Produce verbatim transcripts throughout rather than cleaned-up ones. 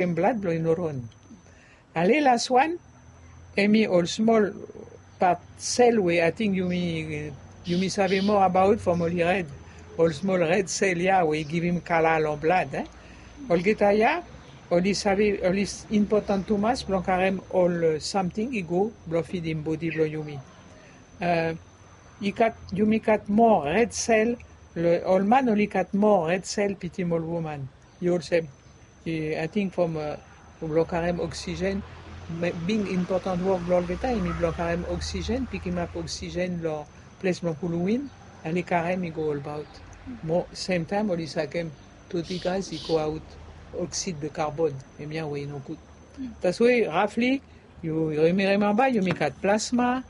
blokem blad blong i no ron. Ale las wan, hemi ol smol pat sel we ating yumi, yumi save moa abaot from oli red. Ol smol red sel ya we i givim kala long blad, eh. Olgeta ya oli save, oli impotan tumas blong karem ol samting i go blong fidim bodi blong yumi. Eh, i gat, yumi gat moa red sel, ol man oli gat moa red sel pitim ol woman. I olsem, ating from blong karem oksigen, big impotan wok blong olgeta hemi blong karem oksigen, pikimap oksigen long ples blong kulum win, ale karem i go olbaot. Mo semtaem oli sakem tu digas i go aot oksid de karbon, hemia we i no gud. That's why roughly, yu, yu rimemba yumi gat plasma,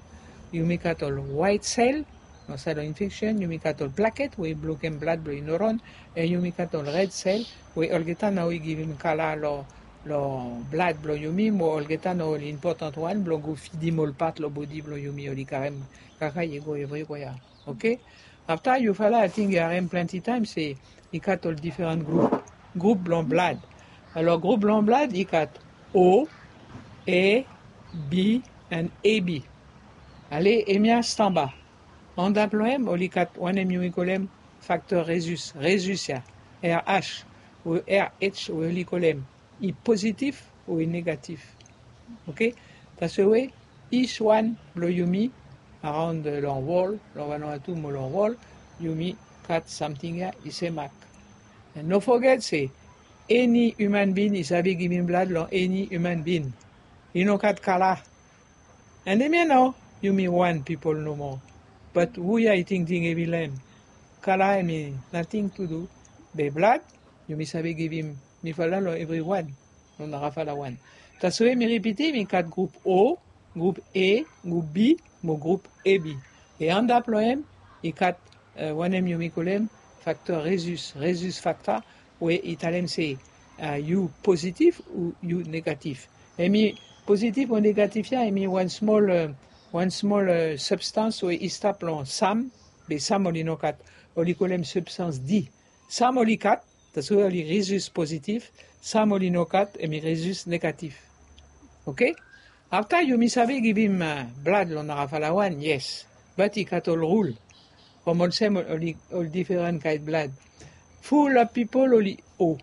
yumi gat ol waet sel, long saed long infeksen, yumi gat ol plaket we i blokem blad blong i no ron, and yumi gat ol red sel we olgeta nao i givim kala long, long blad blong yumi, mo olgeta nao ol impotan wan blong go fidim ol pat long bodi blong yumi oli karem kaka i go evriwea. Oke. Afta yufala ating yu harem plante taem se i gat ol diferan grup, grup blong blad. Alor grup blong blad i gat O, A, B and A B. Ale, hemia stamba. Antap long hem oli gat wanem yumi kolem fakter Rhesus, Rhesus ya, R H, o R H we oli kolem i pozitif o i negatif. Oke. That's why each wan blong yumi around long wol, long Vanuatu mo long wol, yumi gat samting ya i sem mak. And no foget se eni human being i save givim blad long eni human being. I no gat kala. And hemia nao yumi wan pipol nomo. But hu ya i tingting hevi long hem? Kala hemi nating tu du. Be blad yumi save givim mifala long evriwan, long narafala wan. That's why mi ripitim, i gat grup O, grup A, grup B mo grup A B. E antap long hem i gat wanem yumi kolem fakter Rhesus, Rhesus fakta, we i talem se yu pozitif o yu negatif. Hemi pozitif o negatif ya hemi wan smol, wan smol substans we i stap long sam, be sam oli no gat, oli kolem substans D. Sam oli gat, that's why oli Rhesus pozitif, sam oli no gat, hemi Rhesus negatif. Oke. Afta yumi save givim blad long narafala wan, yes. But i gat ol rul. From olsem ol, ol diferan kaen blad. Fulap pipol oli O.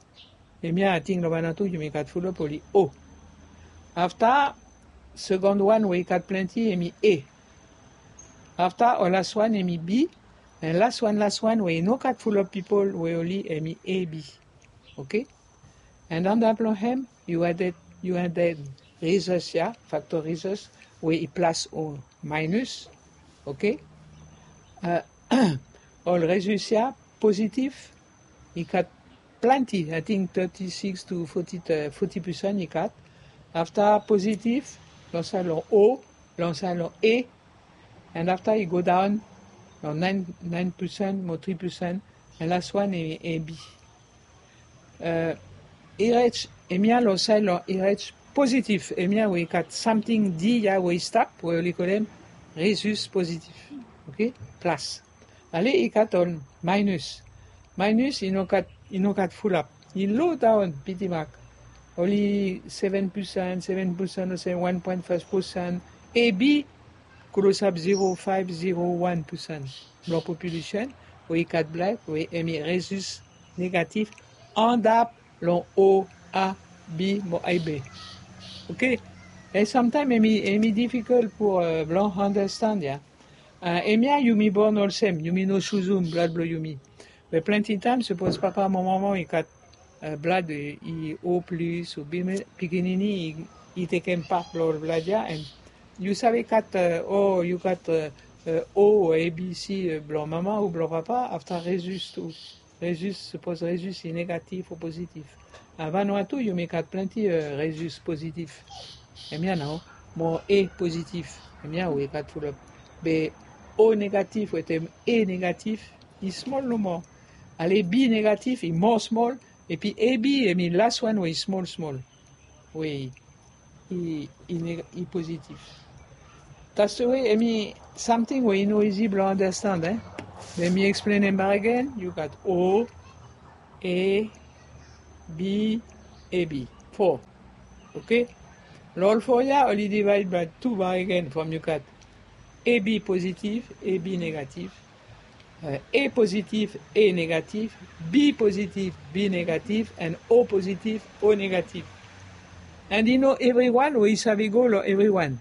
Hemia ating long Vanuatu yumi gat fulap oli O. Afta, sekon wan we i gat plante hemi A. Afta ol las wan hemi B. And las wan, las wan we i no gat fulap pipol we oli hemi A B. Oke. And antap long hem yu aded, yu aded Rhesus ya, fakter Rhesus, we i plas o minus. Oke. Ol Rhesus ya pozitif, i gat plante, ating thirty six to forty, forty percent i gat. Afta pozitif long saed long O, long saed long A. And afta i go daon long nine, nine percent mo three percent. And las wan hemi A B. H, hemia long saed long H pozitif, hemia we i gat samting D ya we i stap, we oli kolem Rhesus pozitif. Oke. Plas. Ale, i gat ol minus. Minus i no gat, i no gat fulap. I lo daon piti mak. Oli seven percent, seven percent o se one point five percent. A B klosap zero five, zero one percent blong populesen we i gat blad we hemi Rhesus negatif, antap long O, A, B mo A B. Oke. And samtaem hemi, hemi difikol pour blong andastand ya. Hemia yumi born olsem, yumi no suzum blad blong yumi. Be plante taem sapos papa mo mama i gat blad i O plis o B, pikinini i tekem pat blong ol blad ya, and yu save gat O, yu gat O o A B C blong mama o blong papa, afta Rhesus tu. Rhesus, sapos Rhesus i negatif o pozitif. Vanuatu yumi gat plante Rhesus pozitif. Hemia nao, mo A pozitif. Hemia we i gat fulap. Be O negatif wetem A negatif i smol nomo. Ale, B negatif i moa smol. Epi A B hemi las wan we i smol smol. We i, i pozitif. That's the way, hemi samting we i no izi blong andastand, eh? Let me explain hem back again. Yu gat O, A, B, A B. fo. Oke? Lo ol fo ya oli divaed by tu bakegen from yu gat A B pozitiv, A B negativ, A pozitiv, A negativ, B pozitiv, B negativ, and O pozitiv, O negativ. And i no evriwan we i save go lo evriwan.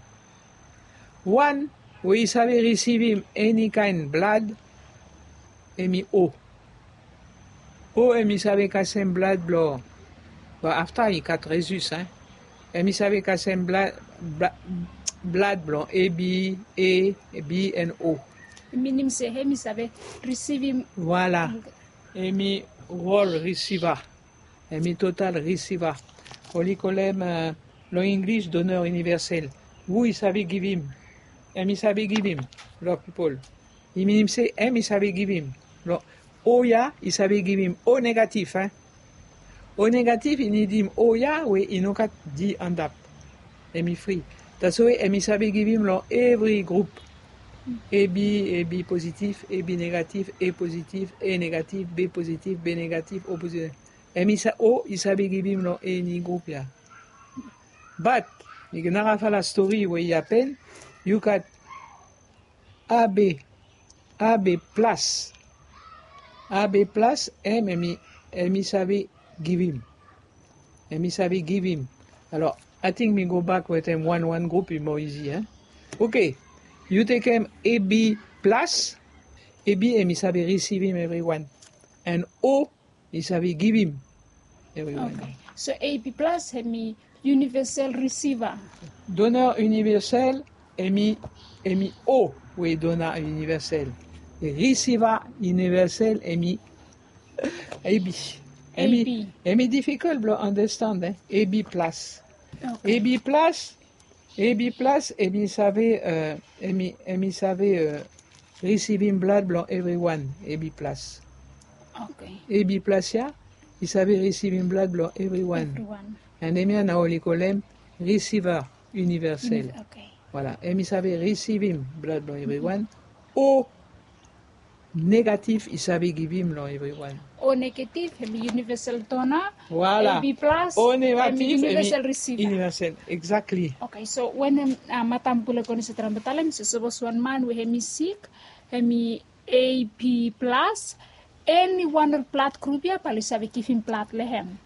Wan we i save risivim eni kaen blad, hemi O. O hemi save kasem blad blo, blo afta i gat rezus, hein. Hemi save kasem blad, blad blo A B, A, B and O. I minim se hemi save risivim. Voilà. Hemi rol risiva. Hemi total risiva. Oli kolem lo Inglis doneur iniversel. Hu i save givim? Hemi save givim lo pipol. I minim se hemi save givim. Lo O ya i save givim O negatif, hein. O negatif i nidim O ya we i no gat D antap. Hemi fri. Taso we hemi save givim lo evri grup. A B, A B pozitif, A B negatif, A pozitif, A negatif, B pozitif, B negatif, O pozitif. Hemi sa, O i save givim lo eni grup ya. Bat mi nara fala stori we i apen. Yu gat A B, A B plas. A B plas, hem, hemi, hemi save givim. Hemi save givim. Alor, ating mi go bak wetem wan wan grup i moa izi, hein. Oke. Yu tekem A B plas. A B hemi save risivim evriwan. And O i save givim evriwan. Oke. So A B plas hemi universal receiver. Doneur universel hemi, hemi O we doneur universel. Receiver universel hemi A B. Hemi, A B. Hemi difikol blo andastand, hein. A B plas. Oke. A B plas, A B plas, hemi save, eh, hemi, hemi save, eh, risivim blad blo evriwan, A B plas. Oke. A B plas ya i save risivim blad blo evriwan. Evriwan. And hemia nao oli kolem receiver universel. Uni-, oke. Voilà, hemi save risivim blad blo evriwan. O negatif i save givim lo evriwan. O negatif hemi universal donor. Voilà. A B plas, O negatif, hemi universal receiver. Universal, exactly. Oke, so wanem, ah, matam pule kone se trae blo talem se sapos wan man we hemi sik, hemi A B plas, eniwan lo blad grup ya bae oli save givim blad lo hem.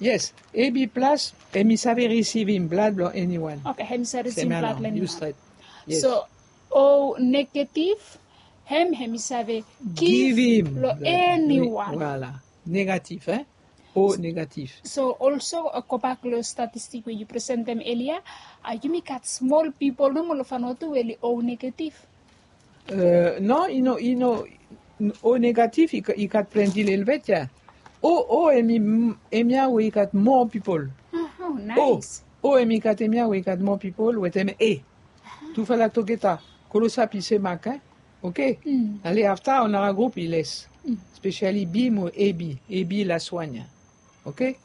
Yes, A B plas hemi save risivim blad blo eniwan. Oke, hemi save risivim blad lo eniwan. Yu stret. Yes. So O negatif, hem, hemi save givim lo eniwan. Voilà. Negatif, hein? O negatif. So also, eh, gobak lo statistik we yu presentem elia, ah, yumi gat smol pipol nomo lo Vanuatu we oli O negatif. Eh, no, i no, i no, O negatif i ga-, i gat plante lelebet ya. O, O hemi, hemia we i gat moa pipol. Oh, oh, nice. O, O hemi gat hemia we i gat moa pipol wetem A. Tufala togeta, klosap i semak, hein? Oke? Mm. Ale afta, nara grup i les. Mm. Spesiali B mo A B, A B las wan ya. Oke?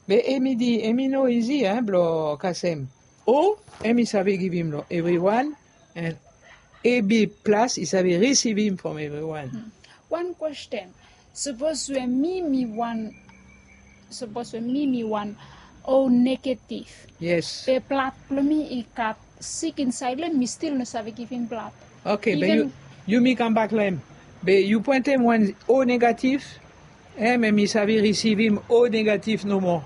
Be hemi di, hemi no izi, hein, blo kasem. O, hemi save givim lo evriwan, and A B plas i save risivim from evriwan. Mm. Wan kwesten. Sapos we mi, mi wan, sapos we mi, mi wan O negatif. Yes. Be blad blo mi i gat sik insaed lo hem, mi stil no save givim blad. Oke, be yu, yumi kambak lo hem. Be yu poentem wan O negatif, hem, hemi save risivim O negatif nomo.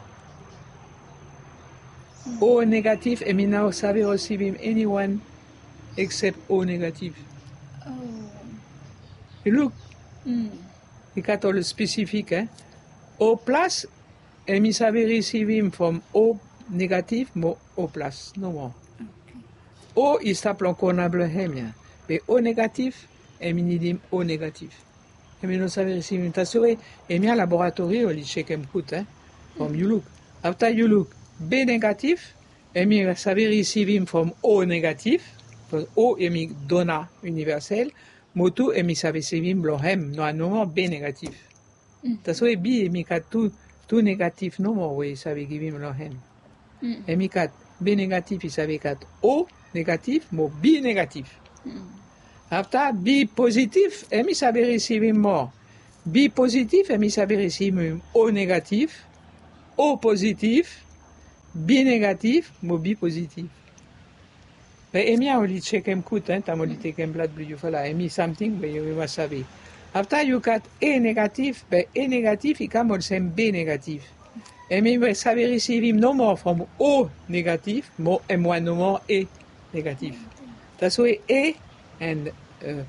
O negatif, hemi no save risivim eniwan eksep O negatif. Oh. Yu luk. Mm. I gat ol spesifik, eh? O plas, hemi save risivim from O negatif mo O plas nomo. Oke. O i stap lo kona blo hem ya. Be O negatif, hemi nidim O negatif. Hemi no save risivim. Taso we, hemia laboratori oli jekem gud, eh? From yu luk. Afta yu luk, B negatif, hemi save risivim from O negatif. Bikos O hemi donor universel. Mo tu hemi save risivim blo hem, noa nomo B negatif. Mm. Taso we B hemi gat tu, tu negatif nomo we i save givim lo hem. Mm. Hemi gat B negatif, i save gat O negatif mo B negatif. Mm. Afta B pozitif, hemi save risivim moa. B pozitif, hemi save risivim O negatif, O pozitif, Bi negatif mo bi pozitif. Be hemia oli jekem gud, en, taem oli tekem blad blong yu, fala, hemi samting we yu mas save. Afta yu gat A negatif, be A negatif i kam olsem B negatif. Hemi we save risivim nomo from O negatif mo hem wan nomo A negatif. Taswe A and, eh,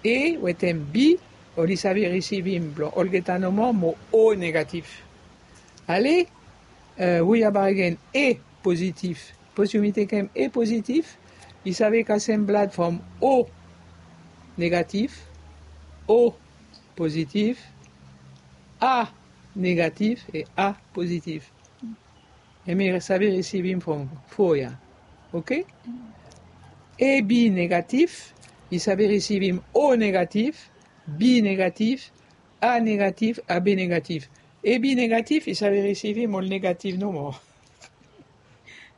A wetem B oli save risivim blong olgeta nomo mo O negatif. Ale, eh, we ya baregen A pozitif. Sapos yumi tekem A pozitif, i save kasem blad from O negatif, O pozitif, A negatif e A pozitif. Hemi save risivim from fo ya. Oke? A B negatif, i save risivim O negatif, B negatif, A negatif, A B negatif. A B negatif, i save risivim ol negatif nomo.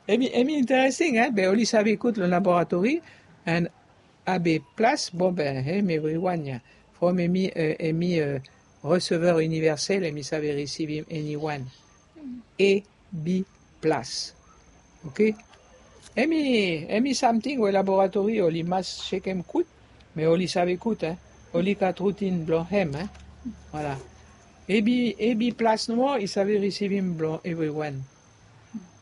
Hemi, hemi interesting, en, be oli save gud lo laboratori, and A B plas, bon, be hem evriwan ya. From hemi, eh, hemi, eh, receveur universel, hemi save risivim eniwan. A B plas. Oke? Hemi, hemi samting we laboratori oli mas jekem gud, me oli save gud, en. Oli gat rutin blong hem, en. Voilà. A B, A B plas nomo, i save risivim blong evriwan.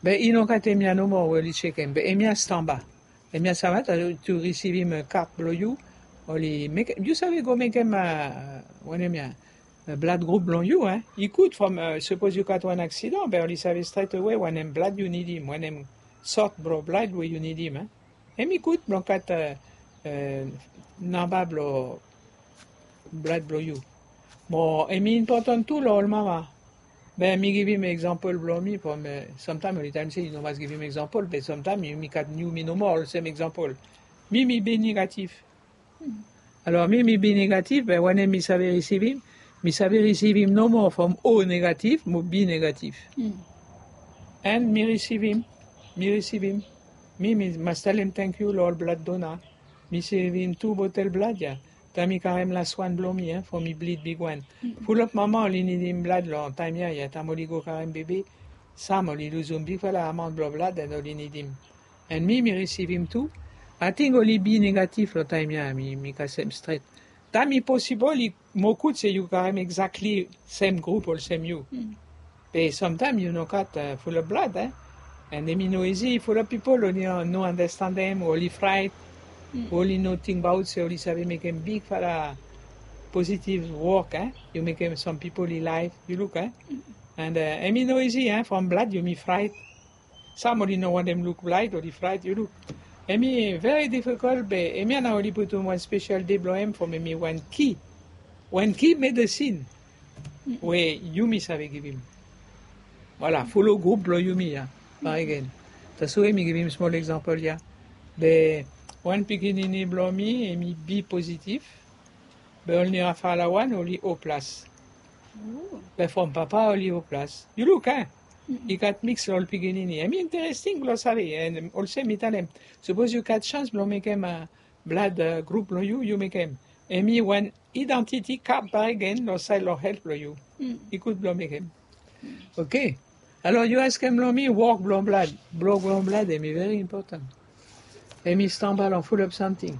Be i no gat hemia nomo we oli jekem, be hemia stamba. Hemia stamba, taem yu risivim, eh, kat blong yu, oli mekem, yu save go mekem, eh, wanem ya, eh, blad grup blong yu, en. I gud from, eh, sapos yu gat wan aksidan, be oli save stret awe wanem blad yu nidim, wanem sort blong blad we yu nidim, en. Hemi gud blong gat, eh, eh, namba blong blad blong yu. Mo hemi impotan tu lo ol mama. Be mi givim egzampol blong mi from, eh, samtaem oli talem se yu no mas givim egzampol, be samtaem yumi gat yumi nomo olsem egzampol. Mi, mi B negatif. Alor, mi, mi B negatif, be wanem mi save risivim? Mi save risivim nomo from O negatif mo B negatif. And mi risivim, mi risivim. Mi, mi mas talem tangkiu lo ol blad dona. Mi risivim tu botel blad ya. Taem mi karem las wan blong mi, en, from mi blid bigwan. Fulap mama oli nidim blad lo taem ya, ya, taem oli go karem bebe. Sam oli luzum bigfala amaon blong blad, and oli nidim. And mi, mi risivim tu. Ating oli B negatif lo taem ya, mi, mi kasem stret. Taem i posibol, i mo gud se yu karem egzakli sem grup olsem yu. Be samtaem yu no gat, eh, fulap blad, en. And hemi no izi, fulap pipol oli no, no andastandem, oli fraet, oli no tingbaot se oli save mekem bigfala pozitiv wok, en. Yu mekem sam pipol i laef, yu luk, en. And, eh, hemi no izi, en, from blad yumi fraet. Sam oli no wantem luk blad, oli fraet, yu luk. Hemi very difikol, be hemia nao oli putum wan spesel de blong hem from hemi wan ki. Wan ki medesin we yumi save givim. Voilà, folo grup blong yumi ya. Bakegen. Taswe mi givim smol egzampol ya. Be wan pikinini blong mi, hemi B pozitif. Be ol nira fala wan oli O plas. Be from papa oli O plas. Yu luk, en? I gat miks lo ol pikinini. Hemi interesting blong save, en olsem mi talem. Sapos yu gat sans blong mekem, eh, blad, eh, grup blong yu, yu mekem. Hemi wan idantiti kat bakegen lo saed lo helt blong yu. I gud blong mekem. Oke. Alor yu askem lo mi wok blong blad. Wok blong blad hemi very important. Hemi stamba lo fulap samting.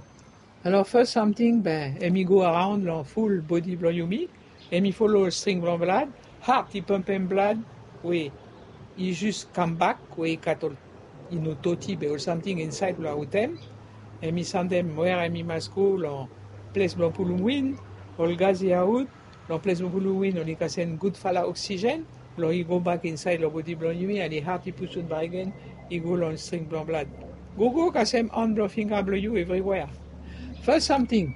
Alor fas samting, be, hemi go araon lo ful bodi blong yumi. Hemi folo string blong blad. Hat i pampem blad we i jus kambak, we i gat ol, i no doti be ol samting insaed lo aotem. Hemi sandem wea hemi mas go, lo ples blong pulum win, ol gas i aot, lo ples blong pulum win oli kasem gudfala oksijen, lo i gobak insaed lo bodi blong yumi, and i hat i pusum bakegen, i go lo string blong blad. Gogo kasem an blong finga blong yu evriwea. Fas samting,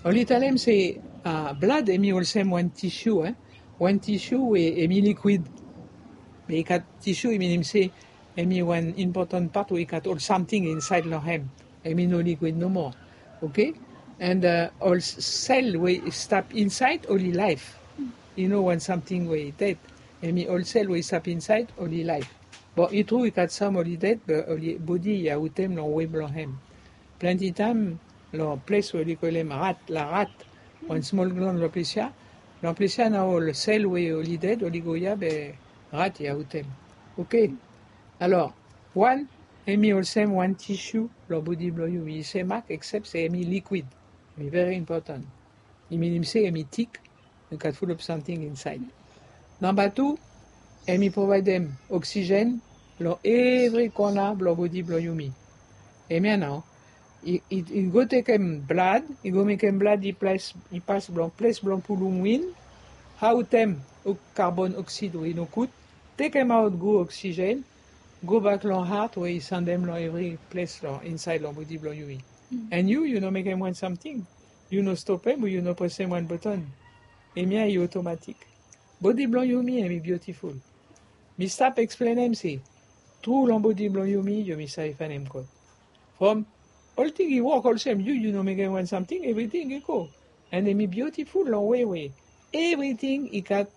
oli talem se, ah, blad hemi olsem wan tisu, en. Wan tisu we hemi likwid. Be i gat tisu, i minim se hemi wan impotan pat we i gat ol samting insaed lo hem. Hemi no likwid nomo. Oke? And, eh, ol s-, sel we i stap insaed oli laef. I no wan samting we i ded. Hemi ol sel we i stap insaed oli laef. Be i tru i gat sam oli ded, be oli bodi i aotem lo we blong hem. Plante taem lo ples we oli kolem rat, la rat, wan smol glan lo ples ya. Lo ples ya nao ol sel we oli ded oli go ya, be rat i aotem. Oke. Alor, wan, hemi olsem wan tishu lo bodi blo yumi, i semak, except se hemi liquid. Hemi very important. I minim se hemi tik, i gat full of something inside. Namba tu, hemi provaedem oxygen lo evri kona blo bodi blo yumi. Hemia nao, i, i, i go tekem blad, i go mekem blad i ples, i pas blo ples blo pulum win, aotem o-, carbon oxide we i no gud, tekemaot gud oxygen, go bak lo heart we i sandem lo evri ples lo insaed lo bodi blo yumi. And yu, yu no mekem wan samting. Yu no stopem o yu no presem wan button. Hemia i otomatik. Bodi blo yumi hemi biutiful. Mi stap eksplenem se tru lo bodi blo yumi, yumi save faenem God. From olting i wok olsem, yu, yu no mekem wan samting, evriting i go. And hemi biutiful lo we we evriting i gat,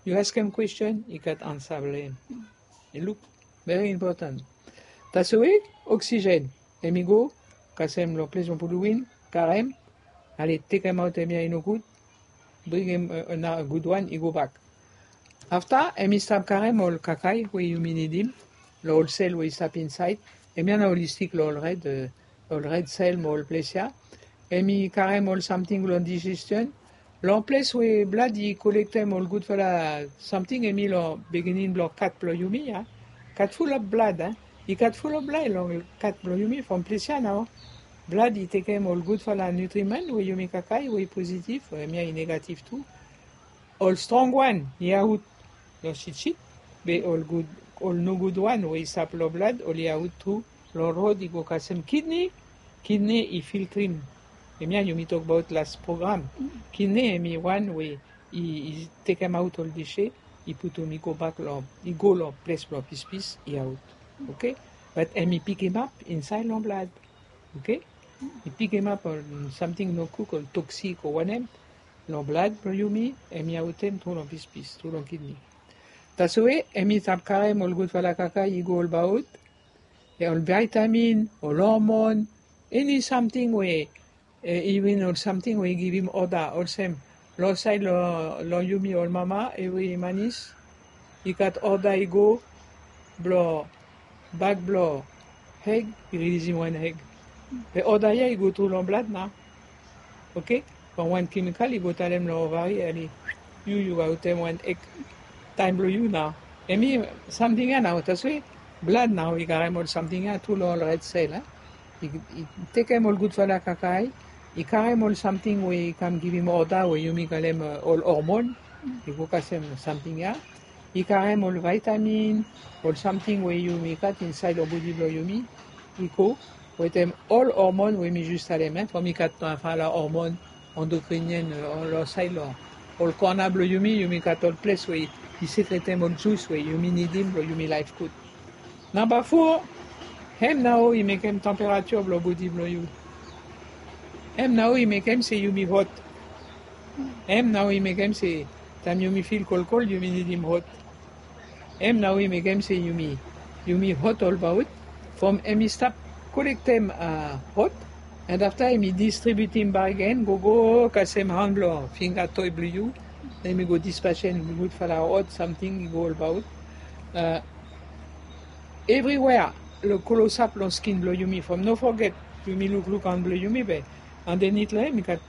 yu askem kwestion, i gat ansa blo hem. I luk very important. Taswe oxygen, hemi go kasem lo ples blo pulum win, karem, ale, tekemaot hemia i no gud, bringem, e, another gud wan, i go bak. Afta, hemi stap karem ol kakae we yumi nidim lo ol sel we i stap insaed. Hemia nao oli stik lo ol red, e, ol red sel mo ol ples ya. Hemi karem ol samting lo digestion. Lo ples we blad i kolektem ol gudfala samting, hemi lo biginin blo kat blo yumi ya. Kat full of blood, a. I gat full of blad lo kat blo yumi from ples ya nao. Blad i tekem ol gudfala nutriment we yumi kakae, we i pozitif, hemia i negatif tu. Ol strong wan i aot lo sitsit, be ol gud, ol nogud wan we i stap lo blad, oli aot tu lo rod i go kasem kidney. Kidney i filtrim. Hemia yumi tokbaot las program. Kidney hemi wan we i, i tekemaot ol dese, i putum, i go bak lo, i go lo ples blo pispis i aot. Oke? But hemi pikimap insaed lo blad. Oke? I pikimap ol samting no gud, ol toksik o wanem, lo blad blo yumi, hemi aotem tru lo pispis, tru lo kidney. Taswe hemi stap karem ol gudfala kakae i go olbaot, ol vitamin, ol hormone, eni samting we, e, iven ol samting we i givim oda, olsem, lo saed lo, lo yumi ol mama, evri manis i gat oda i go blo bak blo eg, i rilisim wan eg. Be oda ya i go tru lo blad nao. Oke? From wan kemikal i go talem lo ovari, ale, yu, yu aotem wan eg, taem blo yu nao. Hemi samting ya nao, taswe blad nao i karem ol samting ya tru lo ol red sel, a. I, i tekem ol gudfala kakae, i karem ol samting we i kam givim oda we yumi kalem, e, ol hormone, i go kasem samting ya. I karem ol vitamin, ol samting we yumi gat insaed lo bodi blo yumi, i go wetem ol hormone we mi jes talem, e, from i gat, e, fala hormone endocrinienne, e, lo saed lo ol kona blo yumi, yumi gat ol ples we i sekretem ol jus we yumi nidim blo yumi laef gud. Namba fo, hem nao i mekem temperature blo bodi blo yu. Hem nao i mekem se yumi hot. Hem nao i mekem se taem yumi fil kolkol, yumi nidim hot. Hem nao i mekem se yumi, yumi hot olbaot. From hemi stap kolektem, a, hot, and afta hemi distribiutim bakegen, gogo kasem han blo finga toe blo yu. Hemi go dispasem gudfala hot samting i go olbaot. A, evriwea, lo klosap lo skin blo yumi, from no foget, yumi lukluk han blo yumi be andenit lo hem i gat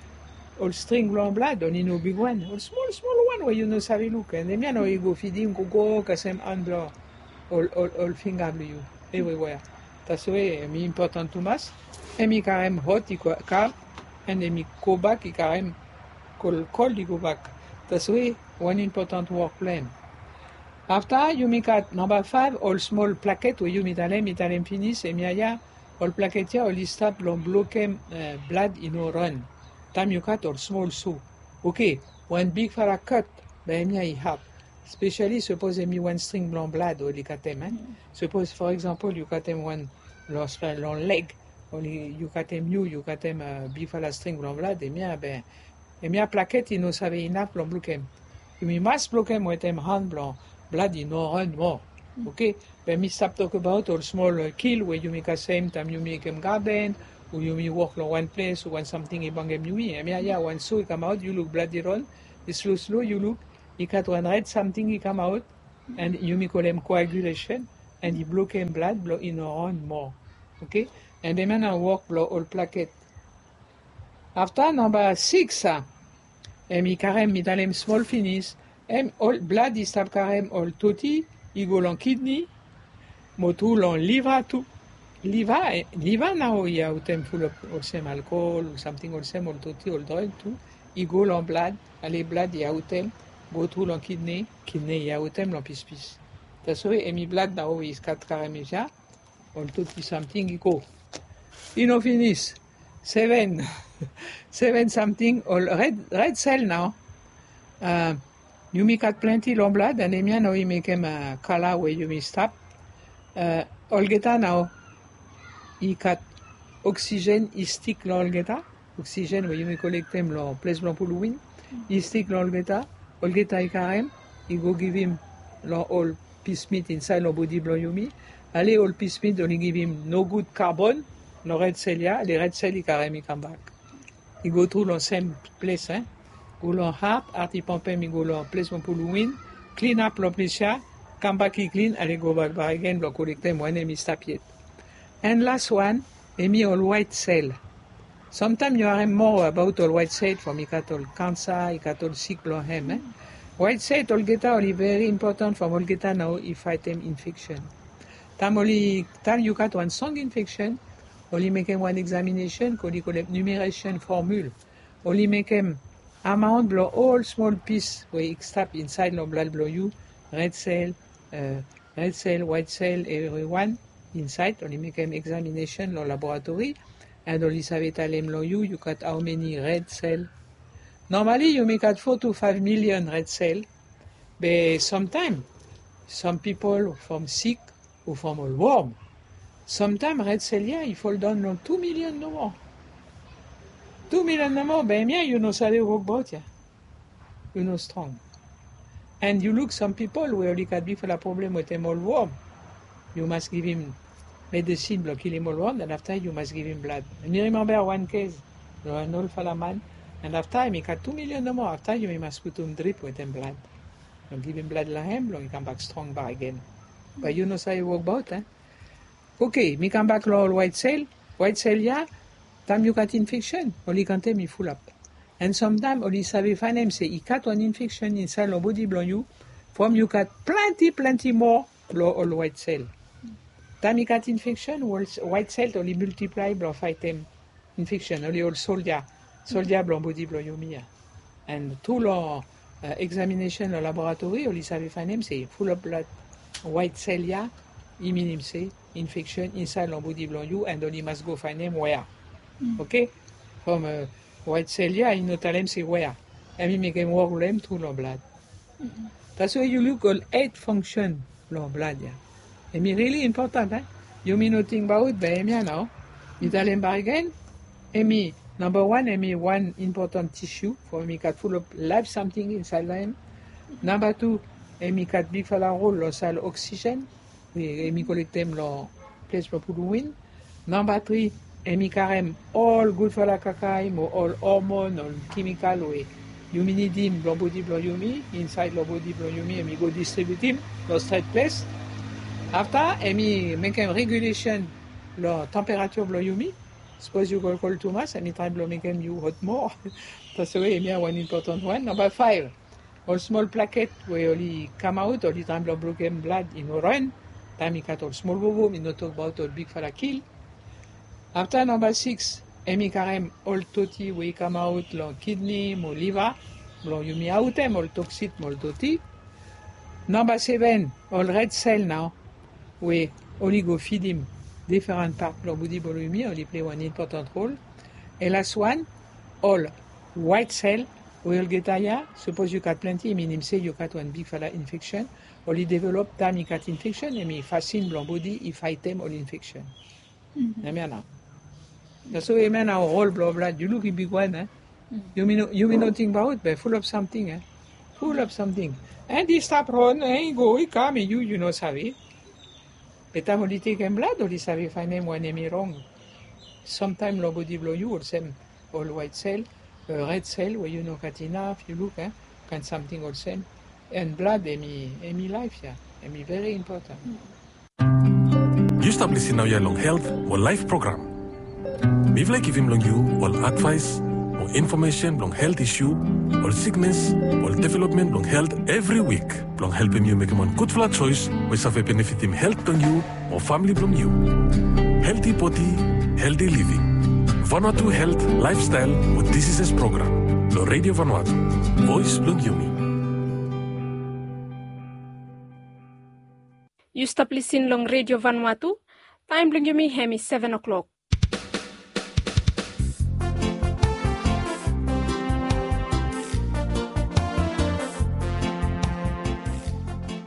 ol string blo blad, oli no bigwan, ol smol smol wan we yu no save luk, and hemia nao i go fidim, gogo kasem han blo ol, ol, ol finga blo yu, evriwea. Taswe hemi impotan tumas, hemi karem hot i go, kam, and hemi gobak i karem kol, kol i gobak. Taswe wan impotan wok blo hem. Afta yumi gat namba faef, ol smol plaket we yumi talem, mi talem finis, hemia ya, ol plaket ya oli stap lo blokem, e, blad i no ran. Taem yu gat ol smol so. Oke, wan bigfala kat, be hemia i had. Spesiali sapos hemi wan string blo blad oli gatem, e. Sapos, for example, yu gatem wan lo, lo leg, oli, yu gatem, yu, yu gatem, e, bigfala string blo blad, hemia be, hemia plaket i no save inaf blo blokem. Yumi mas blokem wetem han blo blad i no ran moa. Oke? Be mi stap tokbaot ol smol, e, kil we yumi kasem taem yumi mekem gaden, o yumi wok lo wan ples, o wan samting i bangem yumi. Hemia ya wan so i kamaot, yu luk blad i ran, i slo slo, yu luk, i gat wan red samting i kamaot, and yumi kolem coagulation. And i blokem blad blong i no ran moa. Oke. And hemia na wok blong ol plaket. Afta namba siks ya, hemi karem, mi talem smol finis. Hem ol blad i stap karem ol toti i go long kidney, mo tu long liva tu. Liva, liva nao i aotem fulap olsem alkohol o samting olsem, ol toti, ol drug tu i go long blad. Ale blad i aotem go tru long kidney, kidney i aotem long pispis. Taswe hemi blad nao i stat karem ya, ol toti samting i go. I no finis. Seven, seven samting ol red, red cell nao. Yumi gat plante long blad, and hemia nao i mekem kala we yumi stap. Olgeta nao i gat oksigen i stik long olgeta. Oksigen we yumi kolektem long ples blong puluwin i stik long olgeta. Olgeta i karem, i go givim long ol pismit insaed long bodi blong yumi. Ale ol pismit oli givim nogud kabon long red cell ya, ale red cell i karem i kambak. I go tru long sem ples, e. Go long hat, hat i pompem i go long ples blong puluwin, klinap long ples ya, kambak i klin, ale gobak bakegen blong kolektem wanem i stap yet. And las wan, hemi ol waet sel. Samtaem yu harem moa abaot ol waet sel from i gat ol kansa, i gat ol sik blong hem, e. Waet sel olgeta oli veri impotan from olgeta nao i faetem infeksen. Taem oli, taem yu gat wan strong infeksen, oli mekem wan examination, oli kolem numeration formula. Oli mekem amaon blong ol smol pis we i stap insaed long blad blong yu, red sel, red sel, waet sel, evriwan insaed, oli mekem examination long laboratori, and oli save talem long yu, yu gat aomeni red sel. Normali yumi gat four to five million red sel, be samtaem sam pipol from sik o from ol wom. Samtaem red sel ya i foldaon long two million nomo. Two million nomo, be hemia yu no save wokbaot ya. Yu no strong. And yu luk sam pipol we oli gat bigfala problem wetem ol wom. Yu mas givim medesin blong kilim ol wom, and afta yu mas givim blad. Mi rimemba wan kes long wan olfala man, and afta hemi gat two million nomo, afta yumi mas putum drip wetem blad blong givim blad long hem blong i kambak strong bakegen. Be yu no save wokbaot, e. Oke, mi kambak long ol waet sel. Waet sel ya, taem yu gat infeksen, oli kantem i fulap. And samtaem oli save faenem se i gat wan infeksen insaed long bodi blong yu from yu gat plante, plante moa blong ol waet sel. Taem i gat infeksen, waet sel oli miltiplae blong faetem infeksen, oli ol soldia, soldia blong bodi blong yumi ya. And tru long examination long laboratori, oli save faenem se fulap blad waet sel ya i minim se infeksen insaed long bodi blong yu, and oli mas go faenem wea. Oke? From waet sel ya i no talem se wea. Hemi mekem wok long hem tru long blad. Taswe yu luk ol eit fangsen long blad ya. Hemi rili impotan, e. Yumi no tingbaot, be hemia nao. Mi talem bakegen, hemi namba wan, hemi wan impotan tisu from hemi gat fulap laef samting insaed long hem. Namba tu, hemi gat bigfala rol long sel oksigen we hemi kolektem long ples blong puluwin. Namba tri, hemi karem ol gudfala kakae mo ol hormon, ol kemikal we yumi nidim blong bodi blong yumi, insaed long bodi blong yumi, hemi go distribiutim long stret ples. Afta hemi mekem regulesen long temperature blong yumi. Sapos yu kolkol tumas, hemi trae blong mekem yu hot moa. Taswe hemia wan impotan wan. Namba faef, ol smol plaket we oli kamaot, oli trae blong blokem blad i no ran. Taem i gat ol smol vovo, mi no tokbaot ol bigfala kil. Afta namba siks, hemi karem ol toti we i kamaot long kidney mo liva blong yumi aotem ol toksin mo ol toti. Namba seven, ol red sel nao we oli go fidim difren pat blong bodi blong yumi, oli plei wan impotan rol. And las wan, ol waet sel we olgeta ya, sapos yu gat plante, i minim se yu gat wan bigfala infeksen. Oli develop taem i gat infeksen, hemi fasin blong bodi i faetem ol infeksen. Hemia nao. Taswe hemia nao rol blong blad, yu luk i bigwan, e. Yumi no, yumi no tingbaot, be fulap samting, e. Fulap samting. And i stap ran, e, i go, i kam, yu, yu no save. Be taem oli tekem blad, oli save faenem wanem i rong. Samtaem long bodi blong yu, olsem ol waet sel, red sel we yu no gat inaf, yu luk, e, kaen samting olsem. And blad hemi, hemi laef ya. Hemi veri impotan. Yu stap lisin naoia long Health mo Laif program. Mifala i givim long yu ol advaes mo infomesen blong helt isu, ol siknes, ol developmen blong helt evri wik, blong helpem yu mekem wan gudfala joes we i save benefitim helt blong yu mo famili blong yu. Helti bodi, helti living. Vanuatu Helt, Laefstael mo Disises program long Redio Vanuatu, Voes blong Yumi. Yu stap lisin long Redio Vanuatu. Taem blong yumi hem i seven o'clock.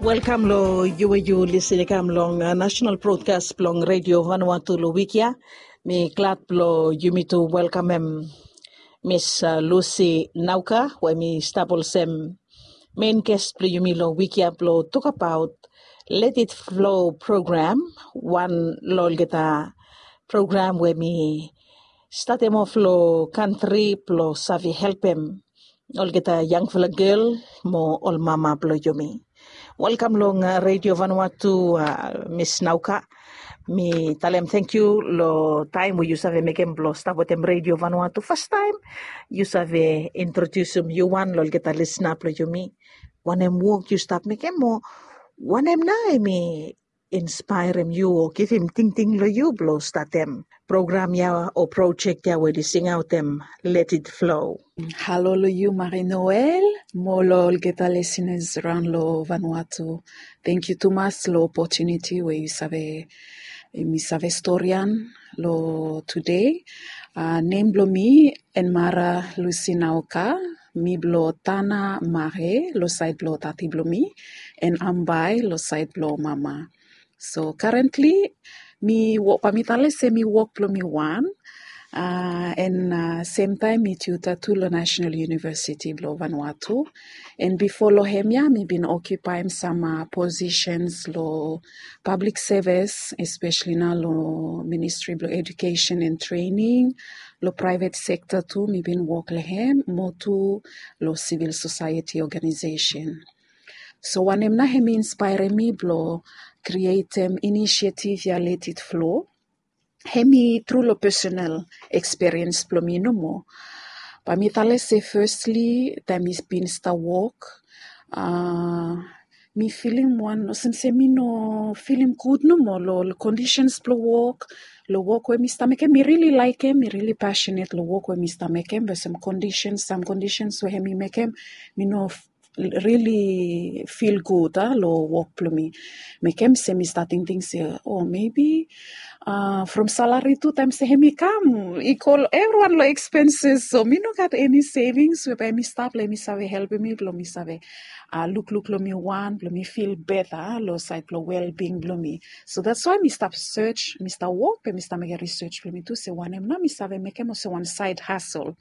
Welkam long yu we yu lisin i kam long national broadcast blong Redio Vanuatu long wik ya. Mi glad blong yumi tu welkamem Miss Lucy Nauka we mi stap olsem mein ges blong yumi long wik ya blong tokabaot Let It Flow program, wan long olgeta program we mi statem of long kantri blong save helpem olgeta yangfala gel mo ol mama blong yumi. Welkam long Redio Vanuatu, Miss Nauka. Mi talem tangkiu long taem we yu save mekem blong stap wetem Redio Vanuatu fastaem. Yu save introdiusim yu wan long olgeta lisna blong yumi, wanem wok yu stap mekem mo wanem nao hem i inspaerem yu o givim tingting long yu blong statem program ya o projek ya we oli singaotem Let It Flow? Halo long yu Marie Noel mo long olgeta lisenas raon long Vanuatu. Tangkiu tumas long opotuniti we yu save, mi save storian long tude. Nem blong mi Enmara Lucy Nauka. Mi blong Tanah Mare long saed blong tati blong mi, and Ambae long saed blong mama. So currently mi wok, bae mi talem se mi wok blong mi wan, and semtaem mi tutor tu long National University blong Vanuatu. And bifo long hemia mi bin okipaem sam posisens long pablik sevis, espesali nao long Ministri blong Edukesen and Trening. Long praevet sekta tu mi bin wok long hem, mo tu long sivil sosaeti ogenaesesen. So wanem nao hem i inspaerem mi blong krietem inisiativ ya Let It Flow, hem i tru long pesonal ekspiriens blong mi nomo. Bae mi talem se fesli taem mi bin stap wok, mi filim wan olsem se mi no filim gud nomo long kondisens blong wok. Long wok we mi stap mekem, mi rili laekem, mi rili pasenet long wok we mi stap mekem, be sam kondisens, sam kondisens we hem i mekem mi no rili fil gud a long wok blong mi. Mekem se mi stap tingting se o mebi from salari tu taem se hem i kam i go evriwan long ekspenses, so mi no gat eni sevings we bae mi stap long hem i save helpem mi blong mi save lukluk long mi wan blong mi fil beta long saed blong welbing blong mi. So that's why mi stap sej, mi stap wok, be mi stap mekem risej blong mi tu se wanem nao mi save mekem olsem wan saed hasel.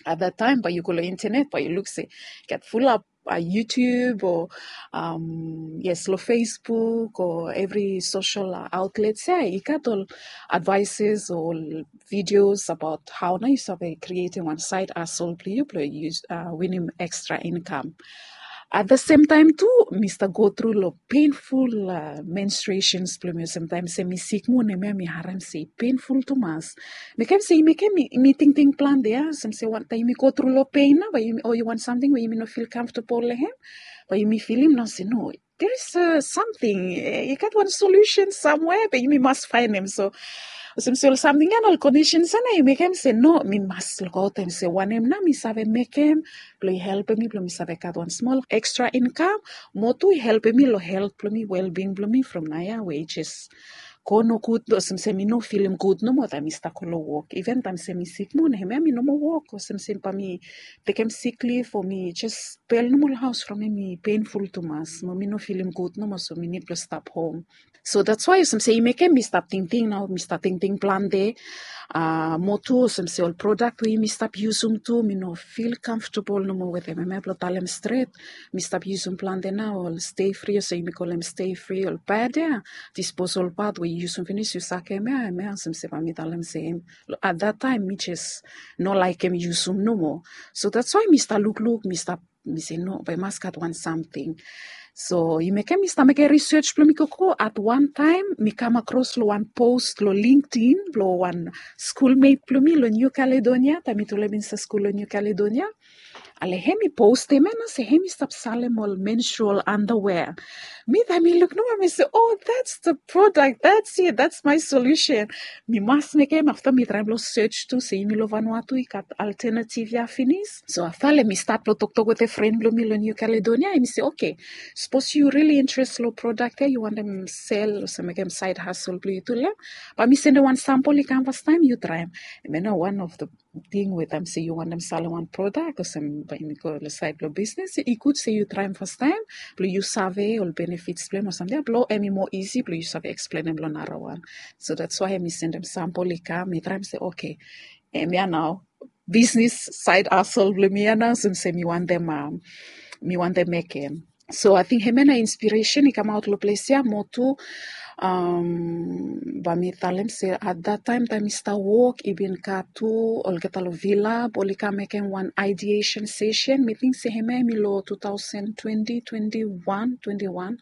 At that taem bae yu go long intenet bae yu luk se gat fulap YouTube o yes long Facebook o evri sosel aotlets ya i gat ol advaeses o ol videos abaot hao nao yu save krietem wan saed hasel blong yu blong yu winim ekstra inkam. At the same time tu mi stap go tru long penful menstruations blong mi olsem taem se mi sik moa, hemia mi harem se i penful tumas. Mekem se i mekem mi tingting plante ya olsem se wantaem yumi go tru long pen nao bae yumi o yu wan samting we yumi no fil kamftabol long hem, bae yumi filim nao se no, there is something, i gat wan solusen samwea be yumi mas faenem. So olsem se ol samting ya na ol kondisens ya nao i mekem se no, mi mas lukaotem se wanem nao mi save mekem blong i helpem mi blong mi save gat wan smol ekstra inkam, mo tu i helpem mi long helt blong mi, welbing blong mi from naoia we i jes go nogud olsem se mi no filim gud nomo taem mi stap go long wok. Iven taem se mi sik moa, hemia mi no moa wok olsem se bae mi tekem sik lif o mi jes bel nomo long haos from hem i penful tumas mo mi no filim gud nomo, so mi nid blong stap hom. So that's why olsem se i mekem mi stap tingting nao, mi stap tingting plante. Mo tu olsem se ol prodak we yumi stap yusum tu mi no fil kamftabol nomo wetem hemia blong talem stret. Mi stap yusum plante nao ol stay free olsem yumi kolem stay free, ol pad ya, disposal pad we yu yusum finis yu sakem ya, hemia olsem se bae mi talem se hem at that taem mi jes no laekem yusum nomo. So that's why mi stap lukluk, mi stap mi se no, bae i mas gat wan samting. So i mekem mi stap mekem research blong mi gogo, at wan taem mi kam akros long wan post long LinkedIn blong wan skulmet blong mi long New Caledonia, taem mi tu long em insait skul long New Caledonia. Ale hem i postem ya nao se hem i stap salem ol menstrual underwear. Mi taem mi luk nomo mi se, oh, that's the product, that's it, that's my solution. Mi mas mekem. Afta mi traem blong search tu se yumi long Vanuatu i gat alternative ya finis. So afta le mi stat blong toktok wetem fren blong mi long New Caledonia, hem i se, okay, sapos yu really interest long product ya, yu wantem sel olsem mekem side hustle blong yu tu long hem, bae mi sendem wan sampol i kam fastaem, yu traem. Hemia nao wan of the ting we taem se yu wantem salem wan product olsem bae yumi go long sait blong bisnis, i gud se yu traem fastaem blong yu save ol benefits blong hem o samting ya, blong hem i moa isi blong yu save eksplenem long narawan. So that's why mi sendem sampol i kam, mi traem se, okay, hemia nao bisnis side hustle blong mi ya nao, olsem se mi wantem, mi wantem mekem. So ating hemia nao inspiresen i kamaot long ples ya. Mo tu, bae mi talem se at that taem, taem mi stap wok, i bin gat tu olgeta long Vila, oli kam mekem wan ideation session. Mi ting se hemia hemi long two thousand twenty, twenty-one, twenty-one.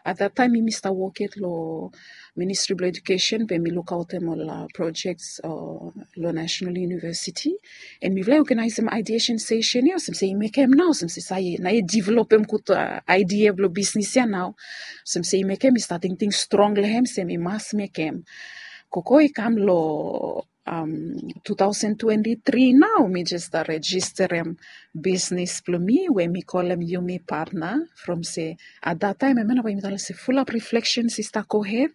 At that taem mi stap wok yet long Ministry blong Education, be mi lukaotem ol projects long National University. And mifala i oganaesem ideation session ya olsem se i mekem nao olsem se sae nao i developem gud idea blong bisnis ya nao. Olsem se i mekem mi stap tingting strong long hem se mi mas mekem. Gogo i kam long two thousand twenty-three nao, mi jes stap rejisterem bisnis blong mi we mi kolem Yumi Partner. From se at that taem hemia nao bae yumi talem se fulap reflections i stap gohed.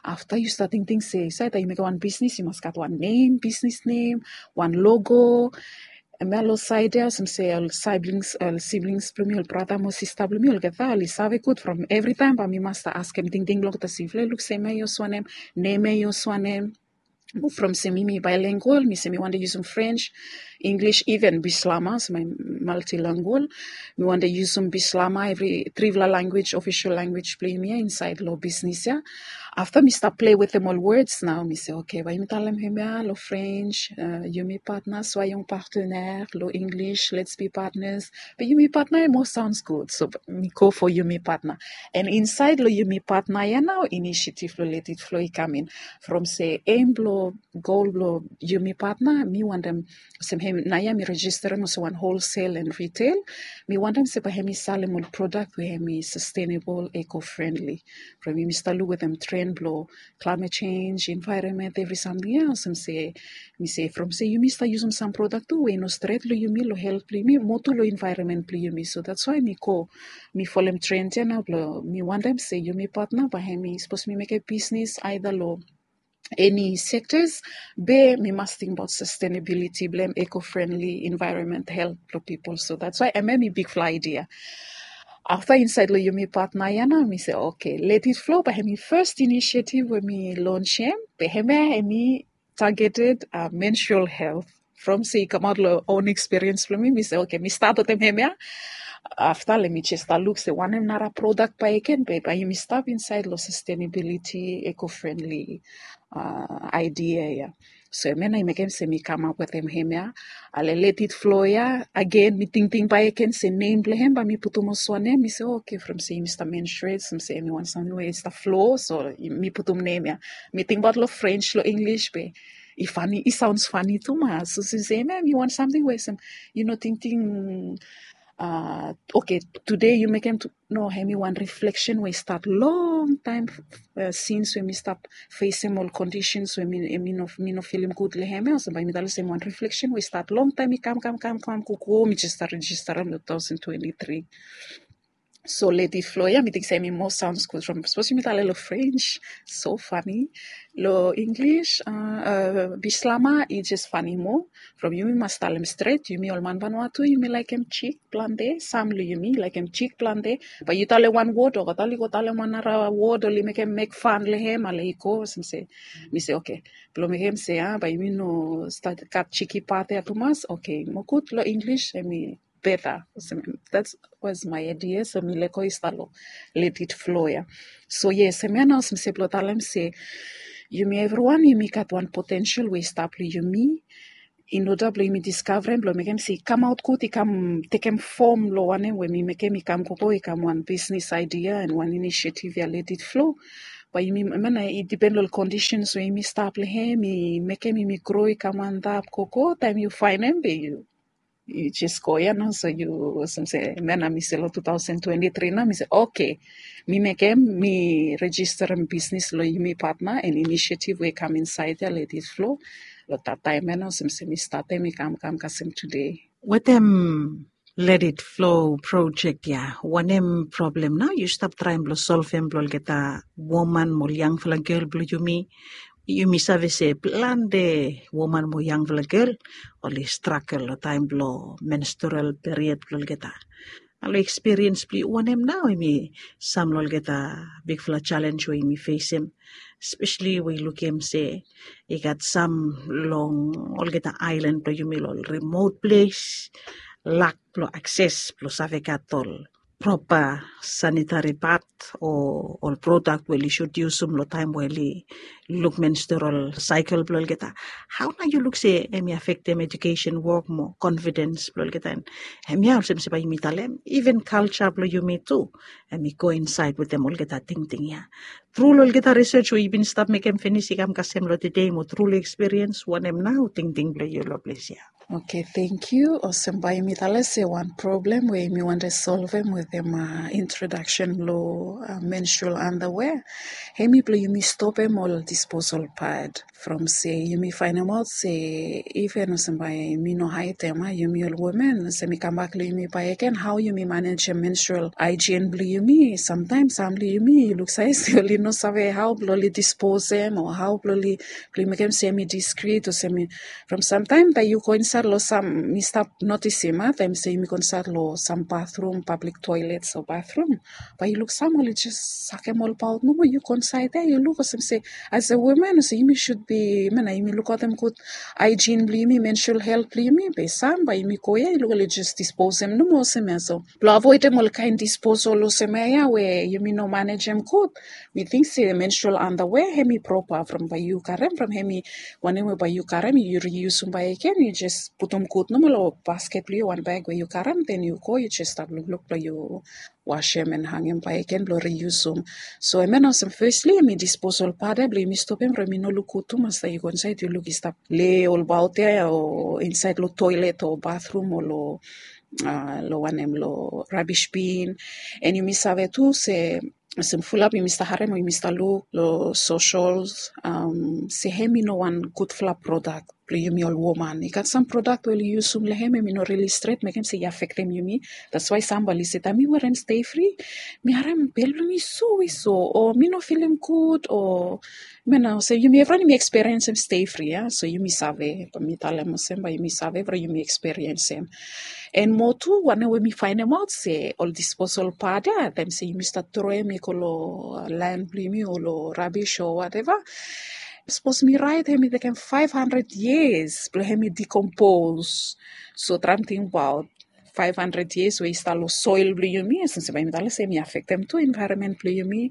Afta yu stap tingting se sae taem yu mekem wan bisnis yu mas gat wan nem, bisnis nem, wan logo. Hemia long saed ya olsem se ol siblings, ol siblings blong mi, ol brata mo sista blong mi, olgeta oli save gud from evritaem bae mi mas stap askem tingting blong olgeta se yufala i luk se hemia i olsem wanem, nem ya i olsem wanem. From se mi mi bilingual, mi se mi wantem yusum French, English, even Bislama, so mi multilingual. Mi wantem yusum Bislama, evri trifala language, official language blong yumi ya insaed long bisnis ya. Afta mi stap plei wetem ol words nao, mi se, okay, bae yumi talem hemia long French, Yumi Partner, soyons partenaires, long English, let's be partners. Be Yumi Partner i moa sounds gud, so mi go for Yumi Partner. And insaed long Yumi Partner ya nao initiative blong Let It Flow i kam in. From se aim blong gol blong Yumi Partner, mi wantem olsem hem naoia mi rejisterem olsem wan wholesale and retail. Mi wantem se bae hemi salem ol product we hemi sustainable, eco-friendly. From yumi stap luk wetem trend blong climate change, environment, evri samting ya, olsem se mi se from se yumi stap yusum sam product tu we i no stret long yumi, long helt blong yumi, mo tu long environment blong yumi. So that's why mi go, mi folem trend ya nao blong mi wantem se Yumi Partner bae hemi sapos mi mekem bisnis aeda long eni sectors, be mi mas tingbaot sustainability blong hem, eco-friendly, environment, helt blong pipol. So that's why hemia hemi bigfala idea. Afta insaed long Yumi Partner ya nao mi se, okay, Let It Flow bae hemi first initiative we mi launchem, be hemia hemi targeted menstrual health. From se i kamaot long own experience blong mi, mi se, okay, mi stat wetem hemia. Afta le mi jes stap luk se wanem nara product bakegen be bae yumi stap insaed long sustainability, eco-friendly idea ya. So hemia nao i mekem se mi kamap wetem hemia. Ale Let It Flow ya, agen mi tingting bakegen se nem blong hem bae mi putum olsem wanem. Mi se, okay, from se yumi stap menstruate, olsem se hemi wan samting we i stap flow, so mi putum nem ya. Mi tingbaot long French, long English be i fani, i sounds fani tumas. So olsem se hemia hemi wan samting we olsem yu no tingting, okay, tude yu mekem tu, no, hemi wan reflection we i stat longtaem since we mi stap fesem ol conditions we mi no, mi no filim gud long hem ya. Olsem bae mi talem se hemi wan reflection we i stat longtaem, i kam, kam, kam, kam gogo, mi jes stap rejisterem long two thousand twenty-three. So Let It Flow ya mi ting se hemi moa sounds gud from sapos yumi talem long French, so fani. Long English, Bislama, i jes fani moa. From yumi mas talem stret, yumi ol man Vanuatu yumi laekem jik plante, sam long yumi laekem jik plante. Bae yu talem wan wod, olgeta oli go talem wan nara wod, oli mekem mek fan long hem, ale i go olsem se, mi se, okay, blong mekem se a bae yumi no stat gat jiki pat ya tumas. Okay, mo gud long English hemi beta. Olsem, that was my idea. So mi lego i stap long Let It Flow ya. So yes, hemia nao olsem se blong talem se yumi evriwan yumi gat wan potential we i stap long yumi. in order blong yumi discover em blong mekem se i kamaot gud, i kam tekem fom long wanem we mi mekem i kam gogo, i kam wan business idea and wan initiative ya, let it flow. But yumi, mena i depend long conditions we yumi stap long hem, i mekem yumi grow i kam antap gogo, taem yu faenem be yu, yu jes go ya nao. So yu olsem se mena mi se long two thousand twenty-three nao mi se okay, mi mekem, mi registerem business long yumi partner and initiative we i kam insaed ya, let it flow. Long that taem ya nao olsem se mi statem i kam kam kasem tude. Wetem Let It Flow project ya, wanem problem nao yu stap traem blong solvem blong olgeta woman mo ol yangfala gel blong yumi? Yumi save se plante woman mo yangfala gel oli stragel long taem blong menstrual period blong olgeta. Long ekspiriens blong yu, wanem nao hemi sam long olgeta bigfala jalenj we yumi fesem, espeseli we yu lukim se i gat sam long olgeta aelan blong yumi long ol remote ples, lak blong akses blong save gat ol propa sanitari pad o ol prodak we oli sud yusum long taem we oli luk menstrual saekel blong olgeta. Hao nao yu luk se hemi afektem ejukesen wok mo konfidens blong olgeta? And hemia olsem se bae yumi talem iven kalja blong yumi tu hemi go insaed wetem olgeta tingting ya. Tru long olgeta risej we yu bin stap mekem finis i kam kasem long tede mo tru long ekspiriens, wanem nao tingting blong yu long ples ya? Okay, thank you. Olsem bae yumi talem se wan problem we yumi wantem solvem wetem introdaksen blong menstrual underwear, hemi blong yumi stopem ol disposal pad. From se yumi faenemaot se iven olsem bae mi no haedem, yumi ol women, olsem i kambak long yumi bakegen, hao yumi manejem menstrual haejen blong yumi? Samtaem sam blong yumi yu luk save se oli no save hao blong oli disposem o hao blong oli, blong mekem se hemi diskrit olsem. From samtaem taem yu go insaed long sam, mi stap notisim, taem se yumi go insaed long sam bathrum, pablik toelets o bathrum, bae yu luk sam oli jes sakem ol paot nomo. Yu go insaed ya yu luk olsem se as a woman olsem yumi sud bi, mena yumi lukaotem gud haejen blong yumi, menstrual helt blong yumi, be sam bae yumi go ya yu luk oli jes disposem nomo olsem ya. So blong avoedem ol kaen disposal olsem ya we yumi no manejem gud, mi ting se menstrual underwear hemi propa from bae yu karem, from hemi wanem we bae yu karem yu riusum bakegen, yu jes putum gud nomo long basket blong yu, wan bag we yu karem, den yu go yu jes stap lukluk blong yu wasem and hangem bakegen blong riusum. So hemia nao olsem fesli hemi disposal pad ya blong yumi stopem from i no luk gud tumas taem yu go insaed yu luk i stap lei olbaot ya o insaed long toelet o bathrum o long, long wanem, long rabis bin. And yumi save tu se olsem fulap yumi stap harem o yumi stap luk long sosels se hemi no wan gudfala prodak blong yumi ol woman. I gat sam prodak we oli yusum long hem, hemi no rili stret, mekem se i afektem yumi. That's why sam bae oli se taem mi werem stay free mi harem bel blong mi sui so o mi no filim gud o, mena olsem yumi evriwan yumi eksperiensem stay free ya. So yumi save, bae mi talem olsem bae yumi save from yumi eksperiensem. And mo tu wanem we mi faenemaot se ol disposal pad ya, taem se yumi stap troem i go long lan blong yumi o long rabis o wateva, sapos mi raet hemi tekem faef handred yias blong hemi dikompos. So traem tingbaot faef handred yias we i stap long soel blong yumi, olsem se bae yumi talem se hemi afektem tu envaeronmen blong yumi,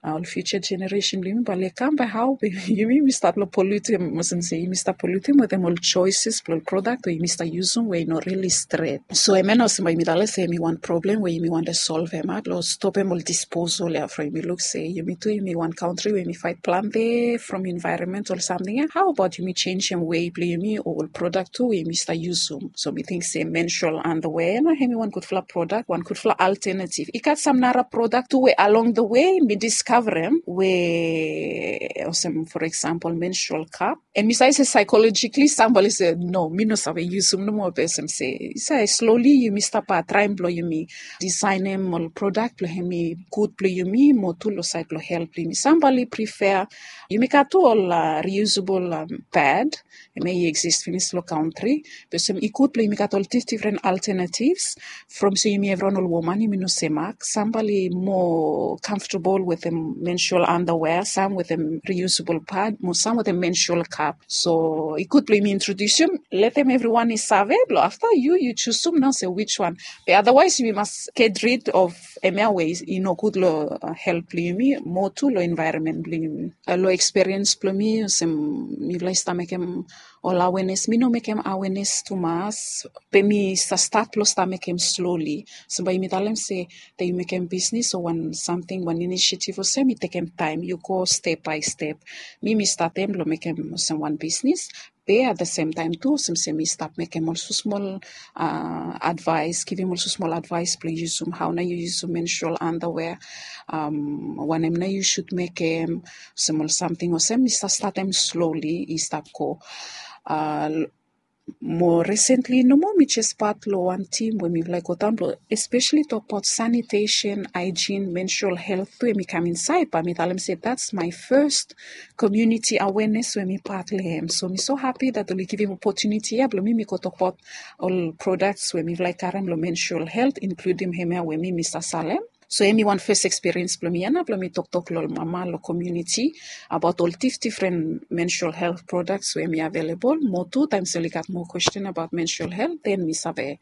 ol fiuja jeneresen blong yumi bae oli kam bae hao be yumi yumi stap long polutem, olsem se yumi stap polutem wetem ol joeses blong ol prodak we yumi stap yusum we i no rili stret. So hemia nao olsem bae yumi talem se hemi wan problem we yumi wantem solvem blong stopem ol disposal ya from yumi luk se yumi tu yumi wan kantri we yumi faet plante from envaeronmental samting ya. Hao abaot yumi jenjem wei blong yumi o ol prodak tu we yumi stap yusum? So mi ting se menstrual underwear ya nao hemi wan gudfala prodak, wan gudfala alternative. I gat sam nara prodak tu we along the way mi diskavarem we olsem for example menstrual cup. And mi save se saikolojikali sam bae oli se no, mi no save yusum nomo, be olsem se i save sloli yumi stap traem blong yumi disaenem ol prodak blong hemi gud blong yumi mo tu long saed blong helt blong yumi. Sam bae oli prifea, yumi gat tu ol reusable pad, hemia i eksis finis long kantri. Be olsem i gud blong yumi gat ol difdifren alternativs. From se yumi evriwan ol woman yumi no semak, sam bae oli moa comfortable wetem menstrual underwear, sam wetem reusable pad mo sam wetem menstrual cup. So i gud blong yumi introdiusim, letem evriwan i save blong afta yu yu jusum nao se wijwan. Be otherwise yumi mas get rid of hemia we i no gud long helt blong yumi mo tu long envaeronmen blong yumi. Long ekspiriens blong mi olsem mifala i stap mekem ol awenes, mi no mekem awenes tumas, be mi sa stat blong sta mekem sloli. So bae yumi talem se taem yu mekem bisnis o wan samting, wan inisiativ olsem, i tekem taem, yu go step bae step. Mi mi statem blong mekem olsem wan bisnis, be at the same time tu olsem se mi stap mekem ol smosmol advaes, givim ol smosmol advaes blong yusum, hao nao yu yusum menstrual underwear, wanem nao yu sud mekem, olsem ol samting olsem. Mi sa statem sloli i stap go. Mo resentli nomo mi jes pat long wan tim we mifala i go daon blong espeseli tokbaot sanitesen, haejin, menstrual helt tu, hem i kam insaed, bae mi talem se that's my first community awareness we mi pat long hem. So mi so hapi that oli givim opotuniti ya blong mi mi go tokbaot ol prodaks we mifala i karem long menstrual helt, inkludim hemia we mi mi sa salem. So hemi wan fes ekspiriens blong mi ya nao blong mi toktok long ol mama long komuniti abaot ol dif difren menstrual helt prodaks we hemi avelebol. Mo tu taem se oli gat moa kwesten abaot menstrual helt, den mi save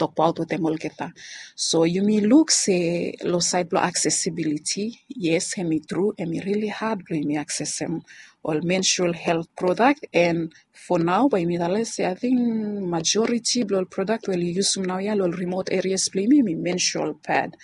tokbaot wetem olgeta. So yumi luk se long saed blong aksesibiliti, yes, hemi tru, hemi rili had blong yumi aksesem ol menstrual helt prodak. And fo nao bae yumi talem se ating majoriti blong ol prodak we oli yusum naoia long ol rimot erias blong yumi, hemi menstrual pad.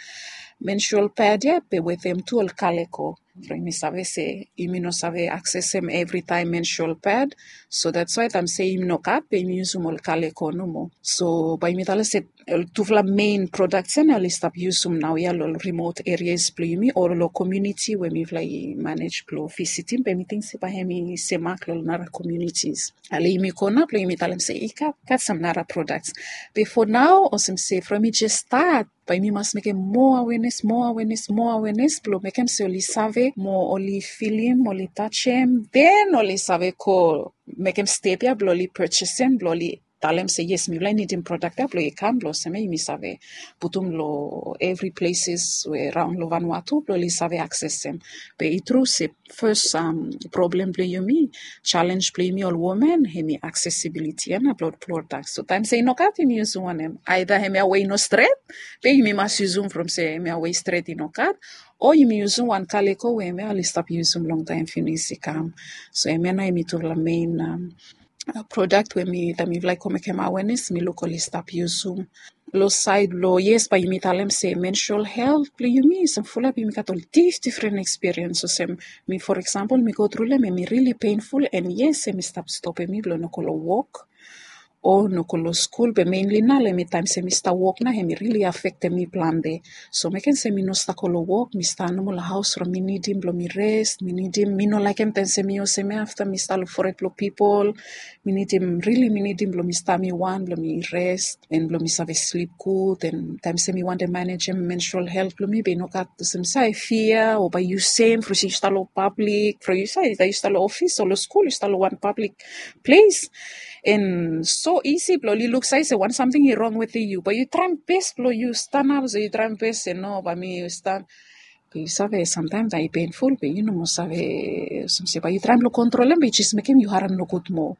Menstrual pad ya be wetem tu ol kaleko. From yumi save se yumi no save aksesem evritaem menstrual pad. So that's why taem se yumi no gat, be yumi yusum ol kaleko nomo. So bae yumi talem se ol tufala mein prodaks ya nao oli stap yusum naoia long ol rimot erias blong yumi o long komuniti we mifala i manej blong visitim, be mi ting se bae hemi semak long ol nara komunitis. Ale yumi go nao blong yumi talem se i gat, gat sam nara prodaks. Be fo nao olsem se from mi jes stat, bae yumi mas mekem moa awenes, moa awenes, moa awenes blong mekem se oli save mo, oli filim, oli tajem, den oli save go mekem step ya blong oli pejesem, blong oli talem se yes, mifala i nidim prodak ya blong i kam blong olsem ya yumi save putum long evri pleses we raon long Vanuatu blong oli save aksesem. Be i tru se fes problem blong yumi, jalenj blong yumi ol woman, hemi aksesibiliti ya nao blong ol prodak. So taem se i no gat, yumi yusum wanem? Aeda hemia we i no stret, be yumi mas yusum from se hemia we i stret i no gat, o yumi yusum wan kaleko we hemia oli stap yusum longtaem finis i kam. So hemia nao hemi tufala mein prodak we mi, taem mifala i go mekem awenes, mi luk oli stap yusum. Long saed blong, yes, bae yumi talem se menstrual helt blong yumi olsem fulap yumi gat ol dif difren ekspiriens. Olsem mi, for example, mi go tru long hem, hemi rili penful, and yes, hemi stap stopem mi blong no go long wok o no go long skul. Be meinli nao long hemi taem se mi stap wok nao, hemi rili afektem mi plante. So mekem se mi no stap go long wok, mi stap nomo long haos from mi nidim blong mi res, mi nidim, mi no laekem taem se mi olsem ya afta mi stap long fored blong pipol. Mi nidim, rili mi nidim blong mi stap mi wan, blong mi res, and blong mi save slip gud. And taem se mi wantem manejem menstrual helt blong mi, be i no gat olsem se i fia o bae yu sem from se yu stap long pablik, from yu save, yu stap long ofis o long skul, yu stap long wan pablik ples. And so isi blong oli luk save se wan samting i rong wetem yu, bae yu traem bes blong yu stanap, so yu traem bes se no, bae mi yu stan Be yu save, samtaem taem i penful be yu no moa save olsem se bae yu traem blong kontrolem be i jes mekem yu harem nogud moa.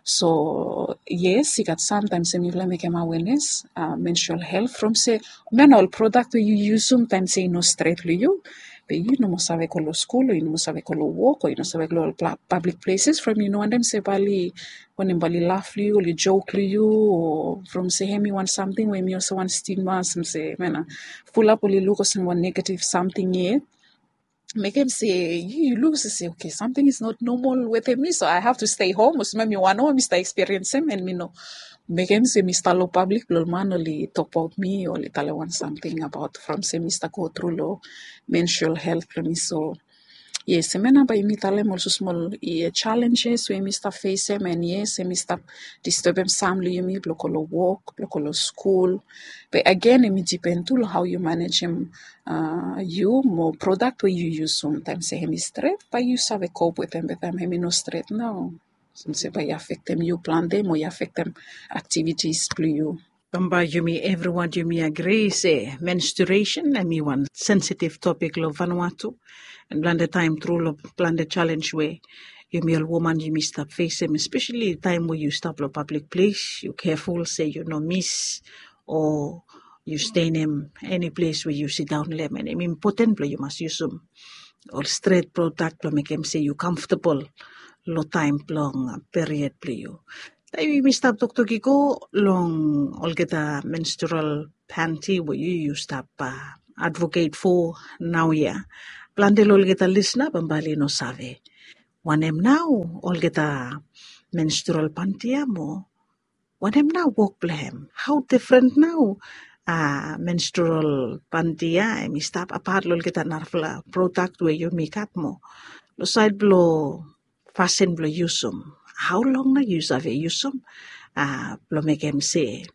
So yes, i gat sam taem se mifala mekem awenes, menstrual helt, from se hemia na ol prodak we yu yusum taem se i no stret long yu, be yu no moa save go long skul o yu no moa save go long wok o yu no save go long ol pablik pleses from yu no wantem se bae oli wanem, bae oli laf long yu, oli jok long yu, o from se hemi wan samting we hemi olsem wan stigma, olsem se hemia na fulap oli luk olsem wan negative samting yet. Mekem se yu, yu luk se, se okay, something is not normal wetem mi, so I have to stay home. Olsem mi wan we mi stap ekspiriensem, and mi no mekem se mi stap long pablik blong ol man oli tokbaot mi o oli talem wan samting abaot from se mi stap go tru long menstrual helt blong mi. So yes, hemia nao bae yumi talem olsem smol challenges we yumi stap fesem, and yes, hemi stap distebem sam long yumi blong go long wok, blong go long skul. Be agen, hemi dipen tu long hao yu manejem yu mo prodak we yu yusum. Taem se hemi stret, bae yu save kop wetem, be taem hemi no stret nao, olsem se bae i afektem yu plante mo i afektem aktivitis blong yu. Bambae yumi evriwan yumi agri se menstruation hemi wan sensitive topik long Vanuatu. And plante taem tru long plante jalenj we yumi ol woman yumi stap fesem, espeseli taem we yu stap long pablik ples, yu keful se yu no mis o yu stenem eni ples we yu sidaon long hem. And hemi impoten blong yu mas yusum ol stret prodak blong mekem se yu kamftabol long taem blong period blong yu. Taem yumi stap toktok i go long olgeta menstrual panty we yu yu stap advocate fo naoia. Plante long olgeta lisna bambae oli no save wanem nao olgeta menstrual panty ia mo wanem nao wok blong hem? Hao difren nao menstrual panty ia em i stap apat long olgeta narafala prodak we yumi gat mo long saed blong fasin blong yusum? Hao long nao yu save yusum blong mekem se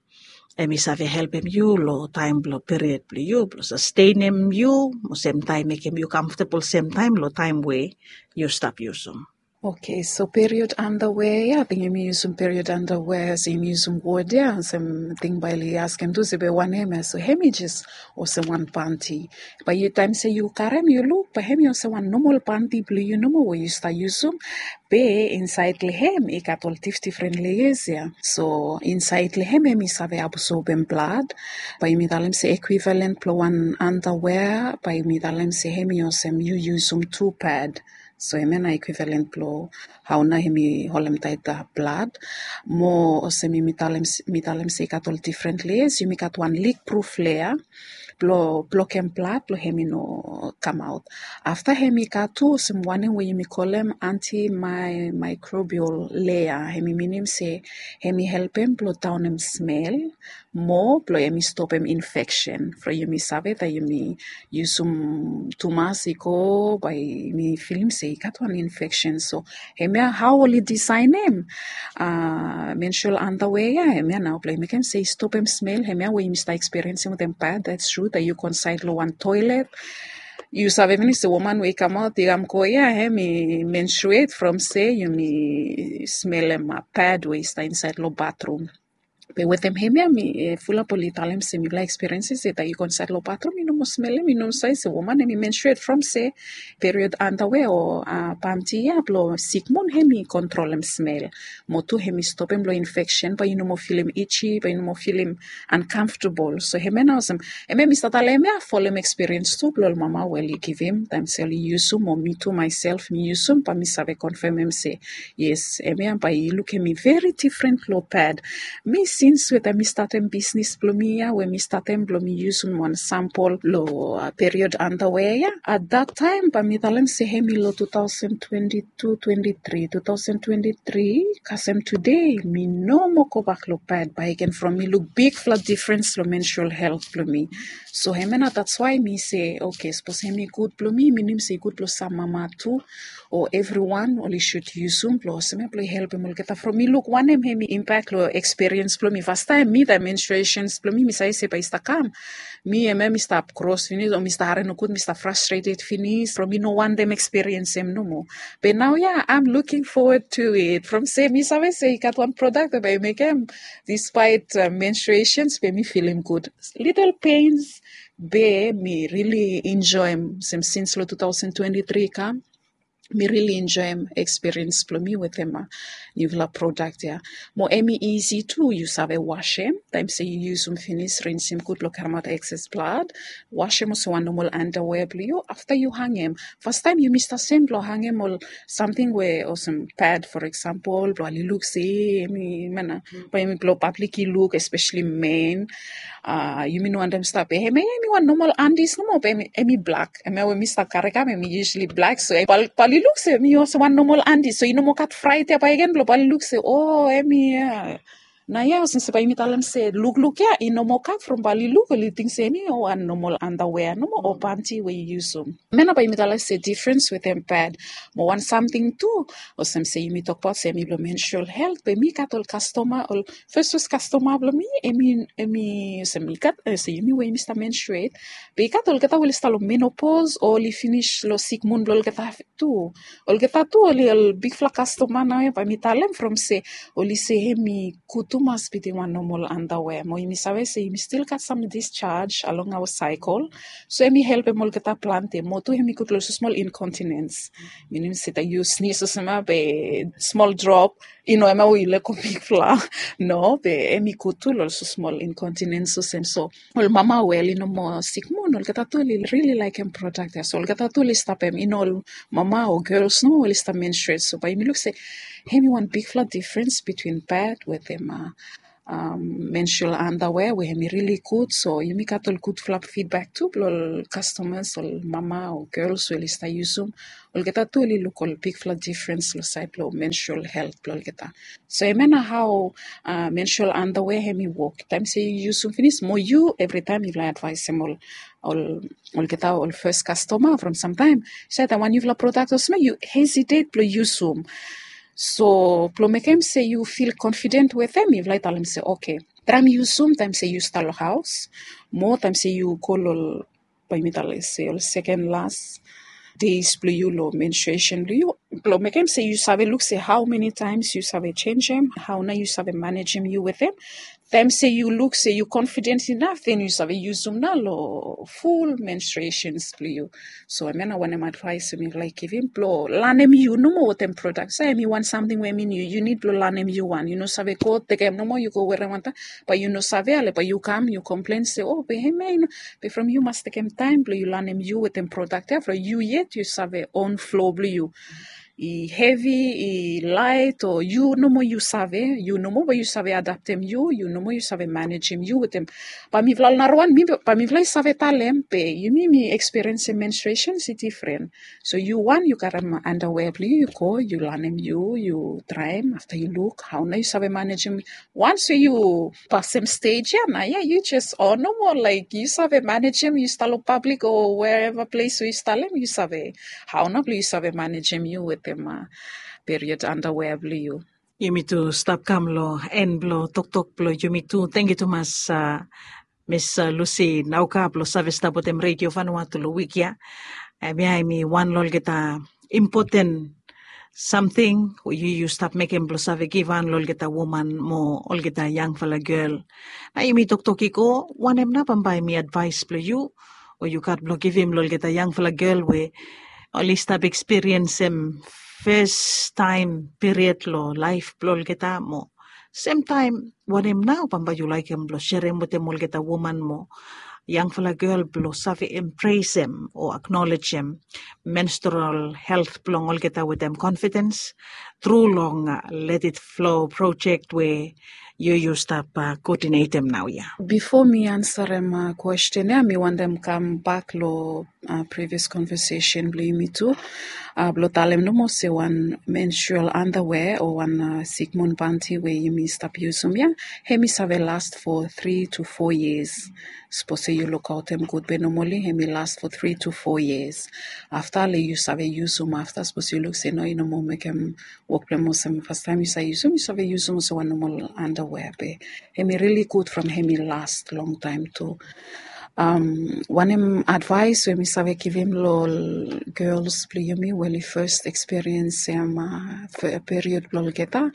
em i save helpem yu long taem blong period blong yu blong sastenem yu mo semtaem mekem yu kamftabol semtaem long taem we yu stap yusum? Oke, so period andawea ia, ating yumi yusum period andawea olsem yumi yusum wod ia olsem ting bae oli askem tu se be wanem ia? So hem i jes olsem wan panty. Bae yu taem se yu karem yu luk bae hem i olsem wan nomol panty blong yu nomo we yu stap yusum. Be insaed long hem i gat ol difdifren leas ia. So insaed long hem hem i save absorbem blad. Bae yumi talem se ekwivalen blong wan andawea bae yumi talem se hem i olsem yu yusum tu pad. So hemia nao ekwivalen blong hao nao hem i holemtaet blad. Mo olsem yumi talem mi talem se i gat ol difren leas, yumi gat wan likpruf lea blong blokem blad blong hem i no kamaot. Afta hem i gat tu olsem wanem we yumi kolem antimicrobial lea, hem i minim se hem i helpem blong daonem smel mo blong hem i stopem infeksen. From yumi save taem yumi yusum tumas i go bae yumi filim se i gat wan infeksen. So hemia hao oli disaenem menstrual andawea ia, hemia nao blong i mekem se i stopem smel hemia we yumi stap ekspiriensim wetem pad. That's true taem yu go insaed long wan toelet yu save pinis se woman we i kamaot i kam go ia hem i menstruate from se yumi smelem pad we i stap insaed long batrum. Be wetem hemia mi fulap oli talem se mifala ekspiriensim se taem yu go insaed long batrum yu no moa smelem, yu no save se woman hem i menstruate from se period andawea o panty ia blong sikmun hem i kontrolem smel. Mo tu hem i stopem long infeksen bae yu no moa filim itchy, bae yu no moa filim uncomfortable. So hemia nao olsem hemia mi stap talem hemia folem ekspiriens tu blong ol mama we oli givim taem se oli yusum o mi tu maesel mi yusum bae mi save konfemem se yes, hemia bae i lukem mi veri difren long pad. Mi sins we taem mi statem bisnis blong mi ia we mi statem blong mi yusum wan sampol long period andawea ia. At dat taem bae mi talem se hem i long two thousand twenty-two twenty-three, two thousand twenty-three kasem tude mi no moa gobak long pad bakegen from mi luk bigfala difrens long menstrual helt blong mi. So hemia nao that's why mi se oke, sapos hem i gud blong mi minim se i gud blong sam mama tu o evriwan oli sud yusum blong olsem ia blong i helpem olgeta. From mi luk wanem hem i impak long ekspiriens blong mi fastaem mi taem menstruations blong mi mi save se bae i stap kam, mi hemia mi stap kros finis o mi stap harem nogud, mi stap frastrated finis from mi no wantem ekspiriensim nomo. Be naoia I'm looking forward to it from se mi save se i gat wan prodak we bae i mekem dispaet menstruations be mi filim gud. Litel pens be mi rili enjoem olsem sins long two thousand twenty-three i kam. Mi rili enjoem ekspiriens blong mi wetem niufala prodak ia. Mo hem i isi tu yu save wasem taem se yu yusum finis, rinsim gud blong karemaot ekses blad. Wasem olsem wan nomol andawea blong yu afta yu hangem. Fastaem yumi stap sem blong hangem ol samting we olsem pad for eksampol blong oli luk se hem i mana bae hem i blong pablik i luk espeseli men. Yumi no wantem stap be hemia ia hem i wan nomol andis nomo be hem i blak. Hemia we mi stap karekam hem i yusali blak so bae oli luk se hem i olsem wan nomol andis so i no moa gat fraet ia bakegen blong bae oli luk se o hem i ia. Naoia olsem se bae yumi talem se lukluk ia i no moa gat from bae oli luk oli ting se hem i wan nomol andawea nomo o panty we yu yusum. Hemia nao bae yumi talem se difrens wetem pad. Mo wan samting tu olsem se yumi tokbaot se hem i blong menstrual helt be mi gat ol kastoma ol fes fes kastoma blong mi hem i olsem i gat olsem yumi we yumi stap menstruate. Be i gat olgeta we oli stap long menopos o oli finis long sikmun blong olgeta tu. Olgeta tu oli ol bigfala kastoma naoia bae mi talem from se oli se hem i gud tu Mas biting wan nomol andawe mo yumi save se yumi stil gat sam discharge along awa saikol. So em i helpem olgeta plante mo tu em i gud long olsem smol incontinens. Minim se taem yu snis olsem ya be smol drop i no em ya we yu lego bigfala. No be em i gud tu long olsem smol incontinens olsem so ol mama we oli no moa sik moa olgeta tu oli rili laekem prodak ya so olgeta tu oli stapem i no ol mama o gels no oli stap menstruet so bae yumi luk se em i wan bigfala difrens bitwin pad wetem menstrual underwear we em i rili gud so yumi gat ol gudfala fidbak tu blong ol kastomas ol mama o gels we oli stap yusum. Olgeta tu oli luk ol bigfala difrens long saed blong menstrual helt blong olgeta. So em ya na hao menstrual underwear em i wok taem se yu yusum finis mo yu evritaem yufala advaesem ol olgeta ol fes kastoma from samtaem. Saed wan yufala prodak olsem ya yu hesitet blong yusum. So blong mekem se yu fil konfiden wetem yufala i talem se oke, traem yusum taem se yu stap long haos mo taem se yu go long ol bae mi talem se ol seken las deis blong yu long menstruesen blong yu blong mekem se yu save luk se hao meni taems yu save jenjem hao nao yu save manejem yu wetem. Taem se yu luk se yu konfiden inaf den yu save yusum nao long ful menstruesens blong yu. So em ya na wanem advaes we mi laik givim blong lanem yu nomo wetem prodak so em i wan samting we em i niu yu nid blong lanem yu wan yu no save go tekem nomo yu go werem wantaem. Bae yu no save ale bae yu kam yu komplen se o be em ya i no be from yu mas tekem taem blong yu lanem yu wetem prodak ya from yu yet yu save on flo blong yu. I hevi i laet o yu nomo yu save yu nomo bae yu save adaptem yu yu nomo yu save manejem yu wetem. Bae mifala ol narawan mi bae mifala i save talem be yumi mi ekspiriensim menstruesens i difren. So yu wan yu karem andawea blong yu yu go yu lanem yu yu traem afta yu luk hao nao yu save manejem. Wans we yu pasem stej ya na ya yu jes o nomo laik yu save manejem yu stap long pablik o wereva ples we yu stap long em yu save hao nao blong yu save manejem yu wetem period andawea blong yu. Yumi tu stap kam long en blong toktok blong yumi tu tangkiu tumas. Mis lusi nauka blong save stap wetem redio vanua tu long wik ya. Em ya em i wan long olgeta impoten samting we yu yu stap mekem blong save givhan long olgeta woman mo olgeta yangfala gel. Na yumi toktok i go wanem nao bambae em i advaes blong yu o yu gat blong givim long olgeta yangfala gel we oli stap ekspiriensim festaem piriod long laef blong olgeta mo semtaem wanem nao bambae yu laekem blong serem wetem olgeta woman mo yangfala gel blong save empresem o aknolejem menstral helt blong olgeta wetem konfidens tru long let it flo projek we yu yu stap koodinetem naoia. Bifo mi ansarem kwesten ya mi wantem kambak long previas konvesesen blong yumi tu blong talem nomo se wan menstrual andawea o wan sikmun banti we yumi stap yusum ya em i save last fo tri tu fo yias. Sapos se yu lukaotem gud be nomali em i last fo tri tu fo yias. Afta le yu save yusum afta sapos yu luk se no i no moa mekem wok blong em olsem fastaem yu save yusum yu save yusum olsem wan nomal andawea be em i rili gud from em i last longtaem tu. Wanem advaes we mi save givim long ol gels blong yumi we oli fes ekspiriensim period blong olgeta?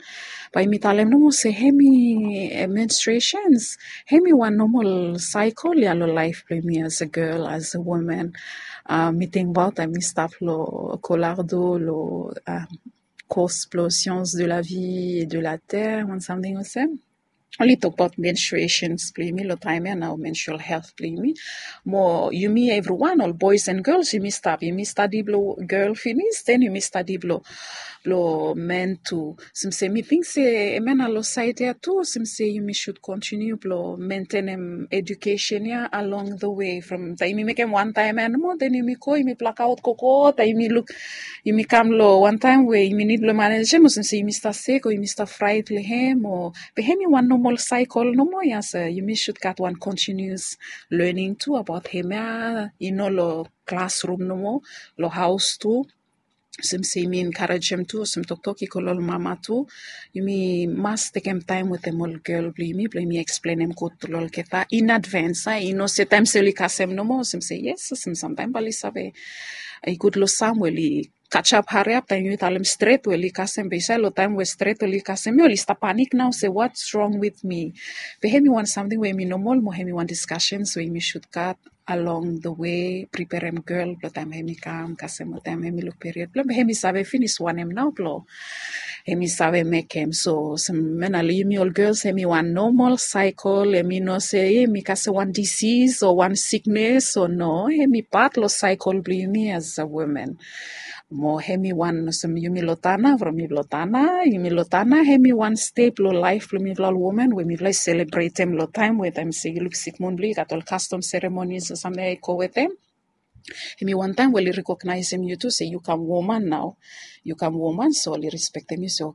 Bae yumi talem nomo se em i menstruesens em i wan nomal saekol ya long laef blong yumi as a gel as a woman. Mi tingbaot taem mi stap long kolardo long kos blong sians de la vi e de la ter wan samting olsem. Oli tokbaot menstruesens blong yumi long taem ya nao menstrual helt blong yumi. Mo yumi evriwan ol boes en gels yumi stap yumi stadi blong gel finis den yumi stadi blong blong men tu. Olsem se mi ting se em ya na long saed ya tu olsem se yumi sud kontiniu blong mentenem edukesen ya along the wei from taem yumi mekem wantaem ya nomo den yumi go yumi blakaot gogo taem yumi luk yumi kam long wantaem we yumi nid blong manejem olsem se yumi stap sek o yumi stap fraet long hem o be hem i wan nomal saekol nomo ya se yumi sud gat wan kontinius lening tu abaot hem ya i no long klasrum nomo long haos tu. Olsem se yumi enkarejem tu olsem toktok i go long ol mama tu yumi mas tekem taem wetem ol gel blong yumi blong yumi eksplenem gud long olgeta in advens a i no se taem se oli kasem nomo olsem se yes olsem samtaem bae oli save i gud long sam we oli kachap hariap taem yumi talem stret we oli kasem be i save long taem we stret oli kasem mi oli stap panik nao se what's wrong with me. Be hemi wan samting we hemi nomol mo hemi wan diskasens we yumi sud gat along the way preperem gel blong taem hemi kam kasem o taem hemi luk period blong be hemi save finis wanem nao blong hemi save mekem so olsem mena long yumi ol gels hemi wan nomol saikol hemi no se hemi kasem wan disis o wan siknes o no hemi pat long saikol blong yumi as a woman. Mo hemi wan olsem yumi long tana from mi blong tana yumi long tana hemi wan step long laef blong mipela ol woman we mipela i selebretem long taem we taem se yu luk sikmun blong yu gat ol kastom seremonis o samting i go wetem. Hemi wantaem we oli rekognaesem yu tu se yu kam woman nao. Yu kam woman so oli respektem yu se